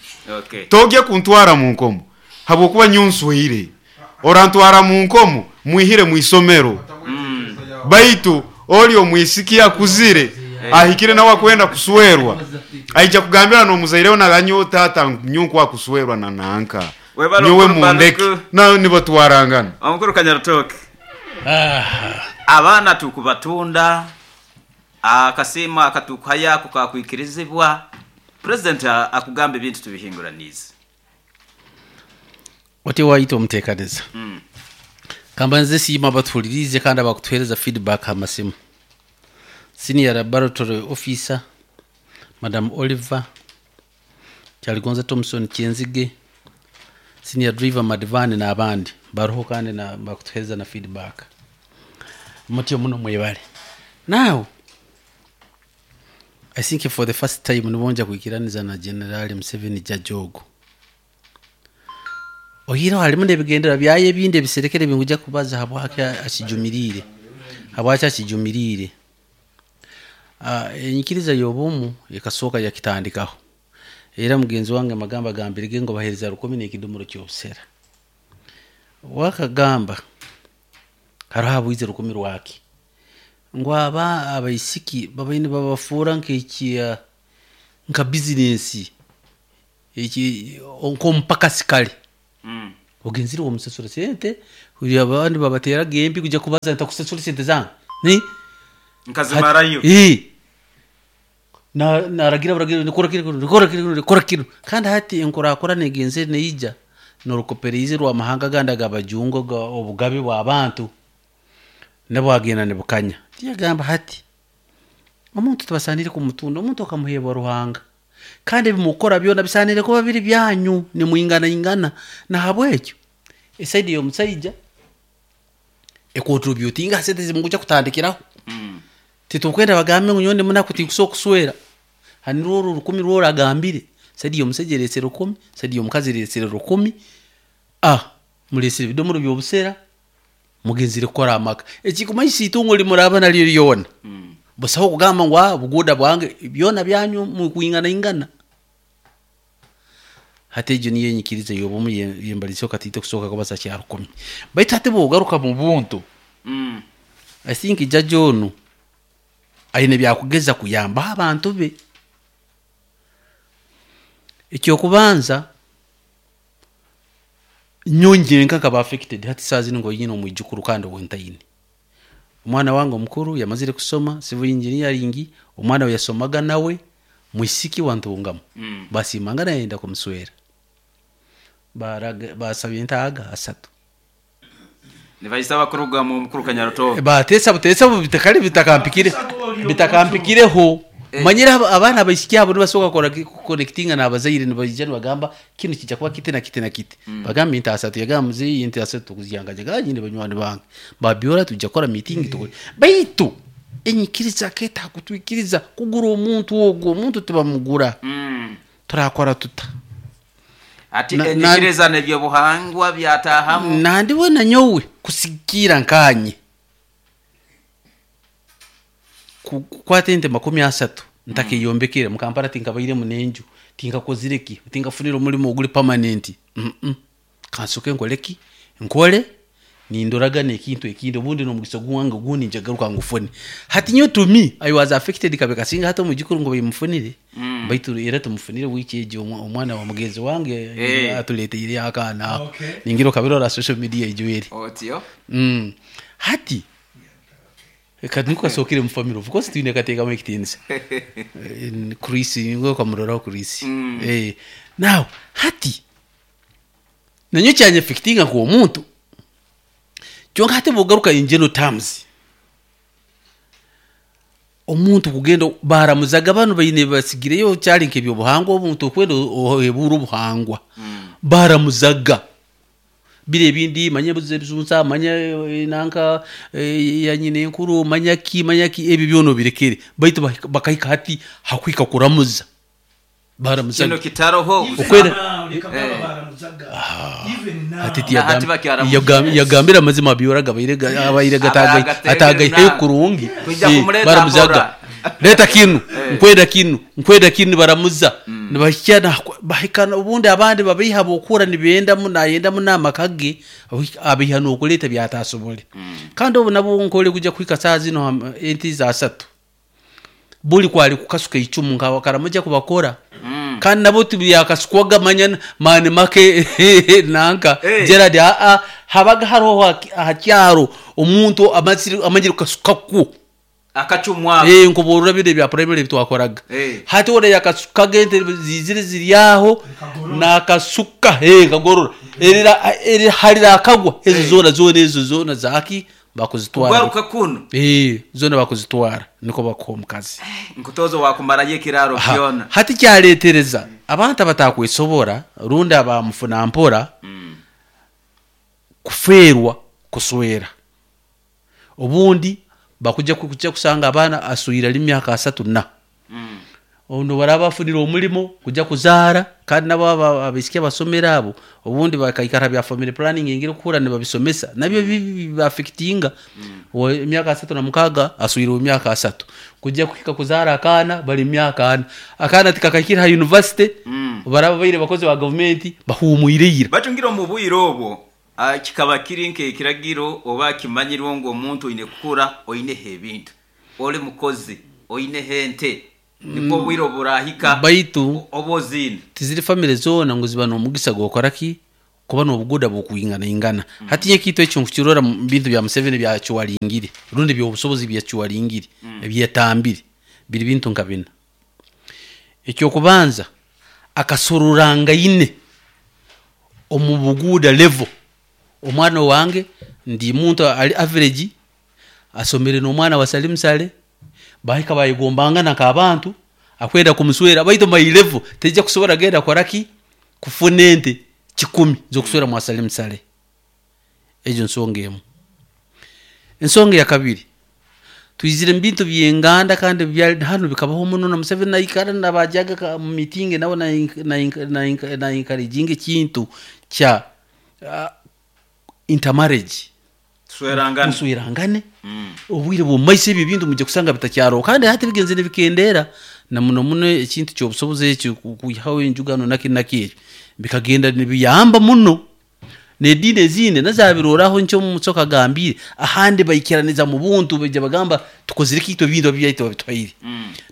Togye kuntwara mu nkomo habwokuba nyunswire orantwara mu nkomo mwihire muisomero. Baitu oli omwisiki akuzire ahikire nawe kwenda kuswerwa aija kugambira no muzaireho naganyo tata nyunkwa kuswerwa na nanka nyowe mundeke na nibatwarangana. Omukuru Kanyarutoke abana tukubatunda akasima akatukaya kukakwikirizibwa president akugamba ebintu tubihinguranize ote wayita omuteekaniza. Kamba nze siima batulirize kandi abakutuhereza feedback amasimu. Senior laboratory officer Madam Oliver Kyaligonza Thompson Kyenzige, senior driver Madivani n'abandi baruho kandi na bakutuhereza na feedback. Mutyo muno mwebale. Now I think for the first time nibonja kuikiraniza na General Museveni Jajogo. Ohiro halimu nebigendera byaye ebindi ebiserekere binguja kubaza habwake akijumirire. Habwaki akijumirire. Enyikiriza y'obumu ekasooka yakitandikaho. Era mugenzi wange magamba gambirige ngo bahereza 10 n'ekidomoro ky'obusera. Wakagamba hariho abwize 10 rwaki. Ngo aba abaisiki babaine babafuura nk'ekiya Nka bizinesi eki nk'omupakasi kare, ogenzire omusasura sente, uri abandi babateraga empi kujya kubaza ntakusasura sente zange ni Nkazimarayo. Naragira baragira nikora kino, nikora kino, nikora kino. Kandi hati enkurakura negenzere neija norukopereize rwamahanga gandi agabajungu obugabe bw'abantu nabwagenda nibukanya. Tiyagamba hati omuntu tibasanire kumutunda, omuntu akamuhebwa Ruhanga, kandi ebimukora byona bisanire kuba biri byanyu, nimwinganaingana. Nahabwekyo esaidi y'omusaija ekontributinga ha sente zimukuja kutandikiraho. Titukwenda bagambe ngu nyowe ndi munaku tinkusobola kuswera. Hani rworo 1,000 rworo agambire saidi y'omusaija eresere 1,000, saidi y'omukazi eresere 1,000, muresere ebidomoro by'obusera, mugenzire kukora amaka. Ekikumanyisa itungo limuraba naryo lyona, busaho kugamba ngu buguda bwange, byona byanyu mukwinganaingana. Hati egyo niyo enyikiriza y'obumu yembalizeho katiito kusooka kubaza kya 1,000. Baitu hati bwogaruka mu buntu, I think jaji onu aine byakugeza kuyambaho abantu be. Ekyokubanza nyongere nkaba affected hati saa zino ngo omwijukuru kandi wentaine. Omwana wange omukuru yamazire kusoma civil engineering, omwana we yasomaga nawe mwisiki wa Ntungamo. Basimangana yenda kumuswera. Basabye ntaaga 3. Nibaisaba kuruga mu mukuru Kanyarutobo. Batesa butesa bitakali bitakampikire. Bitakampikireho. Manyira abaana abaisiki abo nibasobola kukora connectinga n'abazaire, nibaija nibagamba kinu kijja kuba kiti na kiti na kiti. Bagamba nti 3, yagamba muzeeyi nti 3 kuzyangajaga nyine banywani bange. Babyora tujja kukora meeting tukole. Baitu enyikiriza keta kutwikiriza kugura omuntu ogwo, omuntu tibamugura. Turakora tuta. Ati enyikiriza n'ebyobuhangwa byatahamu. Nandiwe na nyowe kusikira nkanye. Kukwata ente 30 ntakeyombekere mukampara tinkabaire munenju, tinkakozire ki, tinkafunira omulimo oguli permanent. Kansoke nkole ki, nkole nindoraga nekintu ekindi, obundi n'omugisa gwange ogundi njagaruka ngufune. Hati nyo to me I was affected kabe kasinga hati omujukuru ngo bayimufunire. Baitu era tumufunire wiki egyo omwana wa mugenzi wange atuleteire akaana ako. Ningira okabirora social media egyo eri. Otyo. Hati kati niko kasokere mu family, of course twine kateekamu ekitiinisa. Chris ngo kamuroraho Chris. Now hati nanyo kyanye affectinga nk'omuntu. Kyonka hati bwogaruka in general terms, omuntu kugenda baramuzaga bano baine basigireyo kyali nk'ebyobuhangwa, omuntu okwenda ohebura obuhangwa. Baramuzaga bire ebindi, manya ebizunza, manya nanka ya nyina enkuru, manya ki, manya ki, ebyo byona obirekere. Baitu bakahika hati hakwika kuramuza. Baramuzaga. Kino kitaroho. Okwera. Hati yagambira amazima byoraga abaire atagaye kurungi. Baramuzaga. Leta kinu, nkwenda kinu, nkwenda kinu baramuza. Nibahikana bahikana ubundi abandi babiha bokura nibenda munayenda munama kage abiha nokuleta byatasobole. Kandi obu nabo nkole kuja kwika saa zino enti za 3. Buli kwali kukasuka icumu nka karamuja kubakora. Kandi nabo tibiyakasukwaga manya mani make nanka. Gerard habaga hariho ahakyaro omuntu amanyire kukasukaku. Akacumwa. Nkuborora bire bya primary bitwakoraga. Hati ore yakasukaga ente zizire ziryaho nakasuka kagorora. Erira harira akagwa ezo zona zona ezo zona zaki bakuzitwara. Kugaruka kuno. Zona bakuzitwara niko bakuha omukazi. Nkutozo wakumara yekiraro kyona. Hati kyaletereza abantu abatakwesobora rundi abamufuna mpora kuferwa kuswera. Obundi bakuja kuja kusanga abana asuira limyaka 3 na. Ono baraba afunira omulimo kuja kuzara kandi nabo abisikia basomera abo obundi bakaikara bya family planning ingire kukura ne babisomesa nabyo bibaffectinga. Emyaka 36 asuira emyaka 3 kuja kuhika kuzara akana bali emyaka 4 akana tikakakira ha university. Baraba baire bakozi ba government bahumuireira batungira mu bwiro obwo kikaba kiri nke kiragiro oba kimanyirwo ngo omuntu oine kukura oine ebintu ole mukozi oine hente. Nibwo obwire oburahika Baitu oba oziine. Tiziri famire zoona ngu ziba n'omugisa gw'okora ki, kuba n'obuguuda bukwinganaingana. Hati nyowe ekintu ekyo nkukirora mu bintu bya Museveni ebyacuwaringire rundi eby'obusobozi ebi yacuwaringire, ebi yatambire, biri bintu nka bina. Eky'okubanza, akasororangaine omu buguuda level. Omwana owange ndi muntu ali average, asomere n'omwana wa Salim Saleh, bahika bayegombangana nk'abantu, akwenda kumuswera, baitu my level teija kusobora genda kukora ki, kufuna ente 1,000 z'okuswera mwa Salim Saleh. Egyo nsonga emu. Ensonga eyakabiri, twizire mu bintu by'enganda kandi hanu bikabaho muno na Museveni naikara nabajaga mu meeting nawe na encouraginga ekintu kya intermarriage. Tuswerangane. Muswerangane. Obwire bw'omumaiso ebi ebintu mujja kusanga bitakyaroho, kandi hati bigenzere nibikendeera na muno muno ekintu ky'obusobozi ekyo kwihaho enjugano naki naki ekyo bikagenda nibiyamba muno. N'ediini ezindi nazo zabiroraho nkyo Musoke agambire, ahandi baikiraniza mu buntu, baija bagamba tukozire ki itwe ebintu ebyaitu babituhaire.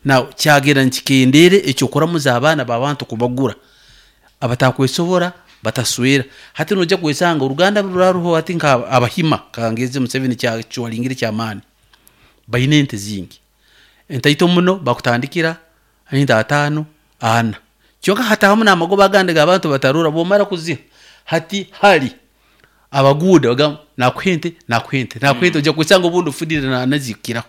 Now kyagenda nikikendeera eky'okuramuza abaana b'abantu kubagura, abatakwesobora bataswera. Hati noija kwesanga oruganda ruraruho hati nka Abahima, kangeze Museveni kyacuwaringire ky'amaani, baine ente zingi, entaito muno bakutandikira ente 5, 4, kyonka hatahamu n'amagoba agandi g'abantu batarora. Bwomara kuziha hati hali abaguuda bagamba nakuha ente, nakuha ente, nakuha ente, ojja kwesanga obundi ofunire nazikukiraho,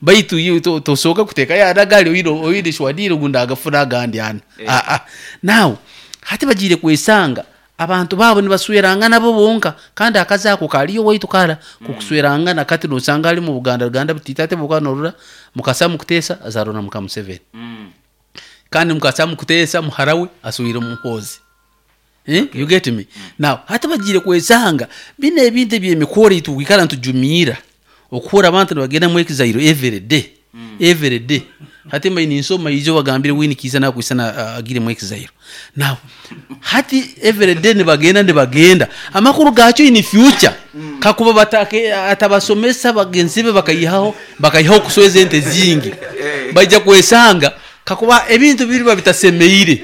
baitu iwe tosooka kuteekayo ana gali oine shwadire ngu ndagafuna agandi ana. Aa, now hati bagiire kwesanga abantu baabo nibaswerangana bo bonka, kandi akazi ako kaliyo waitu kara kukuswerangana. Kati nosanga ali mu Buganda ruganda butiita, ate bwokuba norora Mukasa Mukuteesa azaarwa na muka Museveni, kandi Mukasa Mukuteesa muhara we aswire Muhoozi. Eh? You get me? Now hati bagiire kwesanga bino ebintu eby'emikoro ei tukwikara nitujumiira okuhurra abantu nibagenda mu exile every day, every day. Hati mbaire ninsoma ijo bagambire Winnie Kiiza nakwisana agire mu exile. Now hati every day nibagenda nibagenda, amakuru gakyo in future kakuba batake atabasomesa bagenzi be bakayihaho kusweza ente zingi, baija kwesanga kakuba ebintu biriba bitasemeire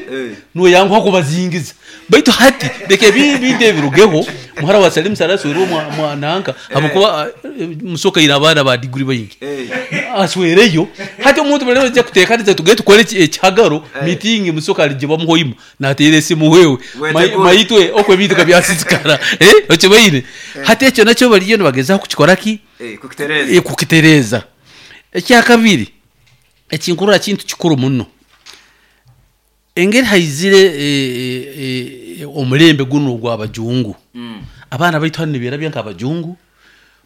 noyanguha kubazingiza. Baitu hati leka ebintu ebirugeho, muhara wa Salim Saleh aswerwe mwananka, habwokuba Musoke aine abaana ba degree baingi, aswereyo. Hati omuntu bali bajja kuteekaniza tugende tukore ekihagaro meeting, Musoke aligye bamuhoima nateera esimu wewe maitwe okwo ebintu kabyasisikara, okibaire. Hati ekyo nakyo bariyo nibagezaho kukikora ki, Kukitereeza. Kukitereeza. Ekyakabiri ekinkurora kintu kikuru muno, engeri haizire omulembe guno ogw'abajungu, abaana baitu hanu niberabya nk'abajungu,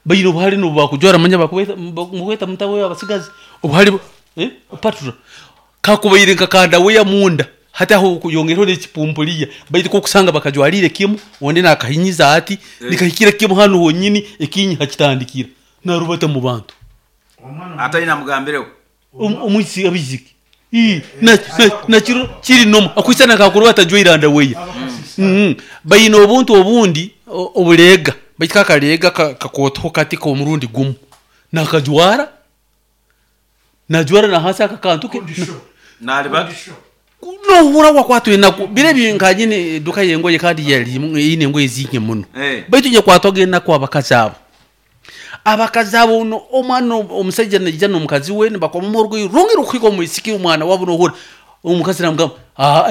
baine obuhare nobu bakujwara manya mukweta mutawe abasigazi obuhare patra kakubaire nka kandaweya munda, hati aho kuyongereho n'ekipumpuliya, baitu kokusanga bakajwarire kimu, ondi nakahinyiza ati nikahikira kimu hanu honyini ekinyi hakitandikira narubata mu bantu. Ataine amugambireho. Omwisi abaisiki nakiro kiri nomu akwisana kakuruba atajwaire andaweya. Baine obuntu obundi obuleega, baitu kakaleega kakootoho kati k'omurundi gumu nakajwara najwara na hansi aka kantu ke. Naliba. Nohura wakwatwa enaku biro ebi nkanyine eduka y'engoye kandi yali eine engoye zingi muno, baitu nyakwatwaga enaku abakazi abo, abakazi abo no omwana omusaija naija n'omukazi we nibakomamu orugoye rurungi rukuhika omwisiki omwana wabo, nohura omukazi namugamba,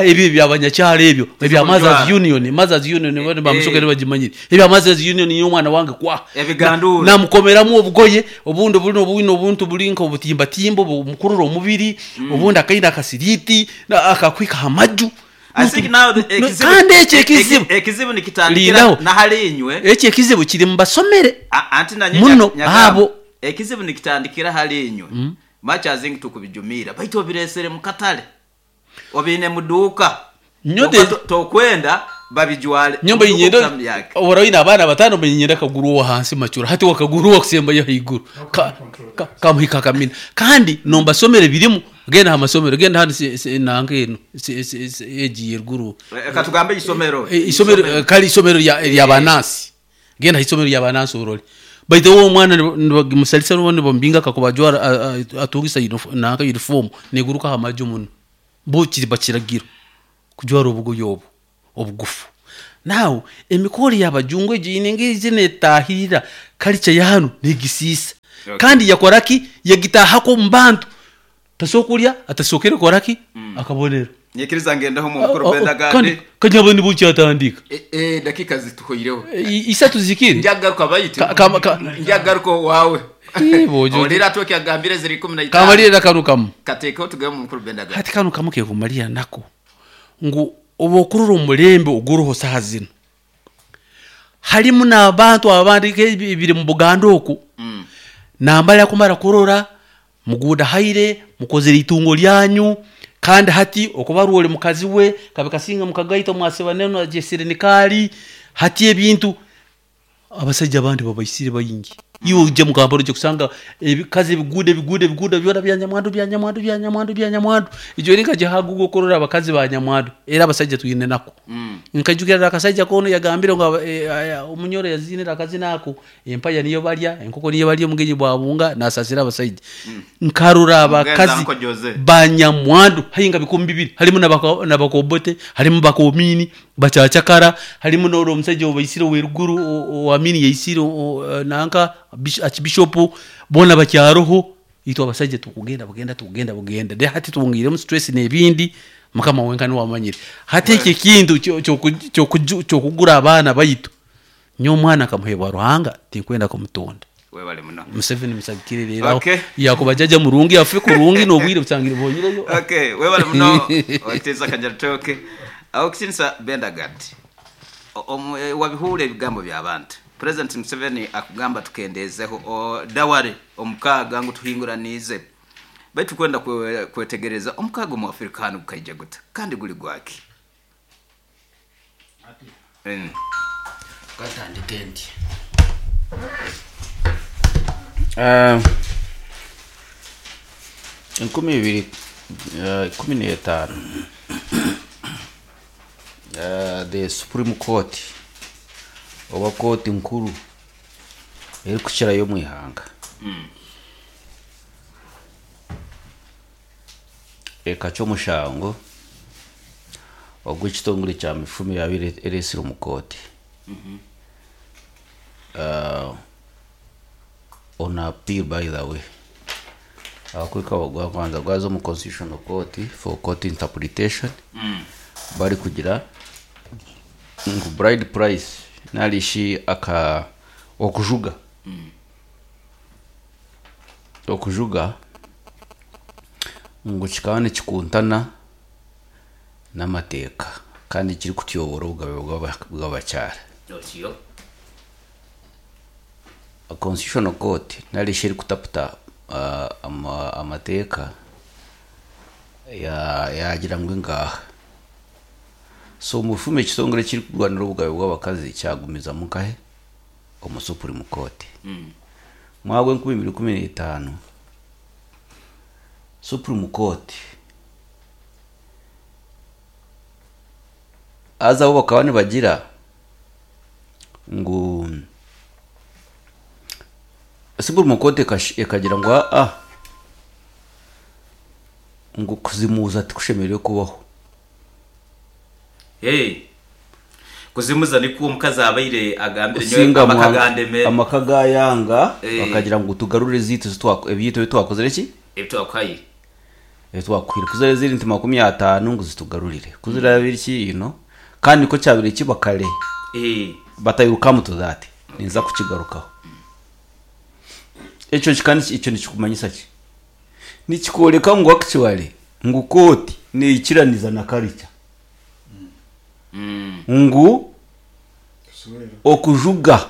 ebyo ebyabanyakyaro ebyo ebya Mothers Union, Mothers Union bamusoke nibagimanyire, ebya Mothers Union niyo omwana wange kwa Ebigandura. Namukomeramu obugoye obundi buli obwine obuntu buli nka obutimbatimba obumukurura omubiri, obundi akaine akasiriti akakwika ha maju. I think now Kandi ekyo ekizibu ekizibu nikitandikira Lindaho. nahali inywe. Ekyo ekizibu kiri mubasomere Anti nanye muno nyagamba, abo. Ekizibu nikitandikira hali inywe. Much as think tukubijumira, baitu obiresere mu katale, obiine muduuka. Nyote Tokwenda babijwale. Nyomba Muduuka inyenda okutamyake. ora oine abaana batano, bayinyenda akaguru owa hansi macura, hati wakaguru wakusembayo haiguru kamuhika akamina, kandi nombasomere birimu. Genda ha masomero, genda hanu nanka eno egi yeruguru. Katugambe isomero. Isomero, kali isomero lya banansi, genda ha isomero lya banansi orole. Baitu uwo omwana nibagimusalisa nubo nibamubinga kakuba ajwara atungisa nanka uniform neguruka ha maju muno. Bo kiriba kiragiro kujwara obugoye obu obugufu. Now emikoro y'abajungu egyo eine engeri netahirira culture ya hanu negisiisa. Okay. Kandi yakora ki? Yagitahako omu bantu. Tasobola kulya atasookere kukora ki? Akabonero. Nyikiriza ngendeho mu mukuru Benda Kandi Gandi. kanyabo nibo kyatandika. Dakika zituhoireho. Isatu zikiri. Njagaruka baitu. Njagaruka wawe. Bojo. Olira tu kyagambire ziri 15. Kamalira kanu kamu. Katekeho tugaye mu mukuru Benda Gandi. Hati kanu kamu kekumalira nako. Ngu obokurura omulembe oguruho saha zino. Halimu n'abantu abandi biri mu Buganda oku. Nambala kumara kurora muguda haire mukozere itungo lyanyu kandi hati okubarwa oli mukazi we kabe kasinga mukagaita mwaseba neno ajesire nikali hati ebintu abasajja abandi babaisire bayingi. Iwe uje mukambaro uje kusanga ebikazi ebigude ebigude ebigude byona bya nyamwandu bya nyamwandu bya nyamwandu bya nyamwandu. Ijo rinka jahagugo kurora abakazi ba nyamwandu era abasajja tuyine nako. Nkajukira akasajja kono yagambire ngo omunyoro yazinira akazi nako empaya niyo balya enkoko niyo balya omugenyi bwabunga nasasira abasajja. Nkarura abakazi ba nyamwandu hayinga bikumi bibiri halimu nabakobote halimu bakomini bachachakara halimu noro omusajja obaisire weruguru oamini yaisire nanka archbishop bona bakyaroho itwa abasajja tukugenda bugenda tukugenda bugenda de hati tuwongiremu stress n'ebindi mukama wenka niwe wamanyire. Hati eki kintu kyokugura abaana baitu nyo omwana akamuheebwa Ruhanga tinkwenda kumutonda. Webale muno. Museveni musagikire rero. Okay. Yakuba jaja murungi afe kurungi n'obwire busangire bonyireyo. Okay, webale muno. Oiteza kanyaritoke. Aho kisinsa Benda Gandi. Wabihure ebigambo by'abantu. President Museveni akugamba tukendezeho daware omukaga ngu tuhinguranize. Baitu kwenda kwetegereza omukaga mu Afrika hano gukaija guta kandi guli gwaki. Katandike nti. 2015 the Supreme Court oba kooti nkuru erikukirayo omu ihanga ekacwa omushango ogw'ekitongore kya mifumi yabaire eresire omu kooti. On appeal, by the way, abakwika gwabanza gwaza omu Constitutional Court for court interpretation. Bari kugira ngu bride price narishi aka okujuga okujuga ngu kikaba nikikuntana n'amateeka kandi kiri kutyobora obugabe bw'abakyara. A Constitutional Court narishi erikutaputa amateeka yagira ngu ngaha. So mufume ekitongore kiri kurwanira obugabe bw'abakazi kyagumizamu nkahe omu Supreme Court. Mwaka 2015 Supreme Court aza bo bakaba nibagira ngu Supreme Court ekagira ngu ngu kuzimuza tikushemereire kubaho. Hey, kuzimuza nikuwo omukazi abaire agambire nyowe amakagandeme amaka gayanga bakagira ngu tugarure zitu ebyitu twakozere ki ebitwakwaye ebitwakwire kuzere ziri nti 50 ngu zitugarurire kuzira biri ino kandi ko cyabire kibakare batayiruka to that ninza kukigarukaho. Ekyo kikandi ekyo nikikumanyisa ki nikikoreka ngu actually ngu koti neikiraniza na culture ngu okujuga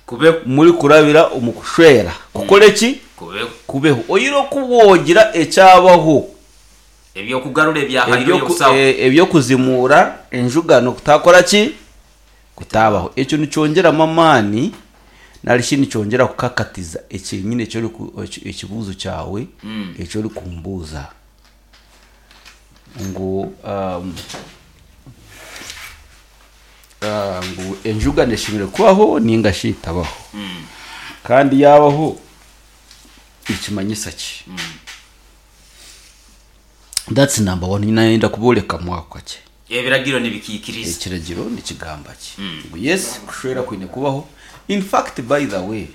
kube muri kurabira omukushwera kukole ki kubeho oyiro kubogira ekyabaho ebyo kugarura ebyahayo yokusawo ebyo kuzimura enjugano kutakora ki kutabaho. Ekyo nicyongera amani narishi nicyongera kukakatiza ekinyine ekyo ekibuzo cyawe ekyo uri kumbuza ngu ngu enjuga neshimire kubaho ninga shitabaho. Kandi yabaho nikimanyisa ki? That's number one. Nayenda kuboleka mwako kakye. Ebiragiro nibikikiriza. Ekiragiro nikigamba ki? Ngu yes, kushwera kwine kubaho. In fact, by the way,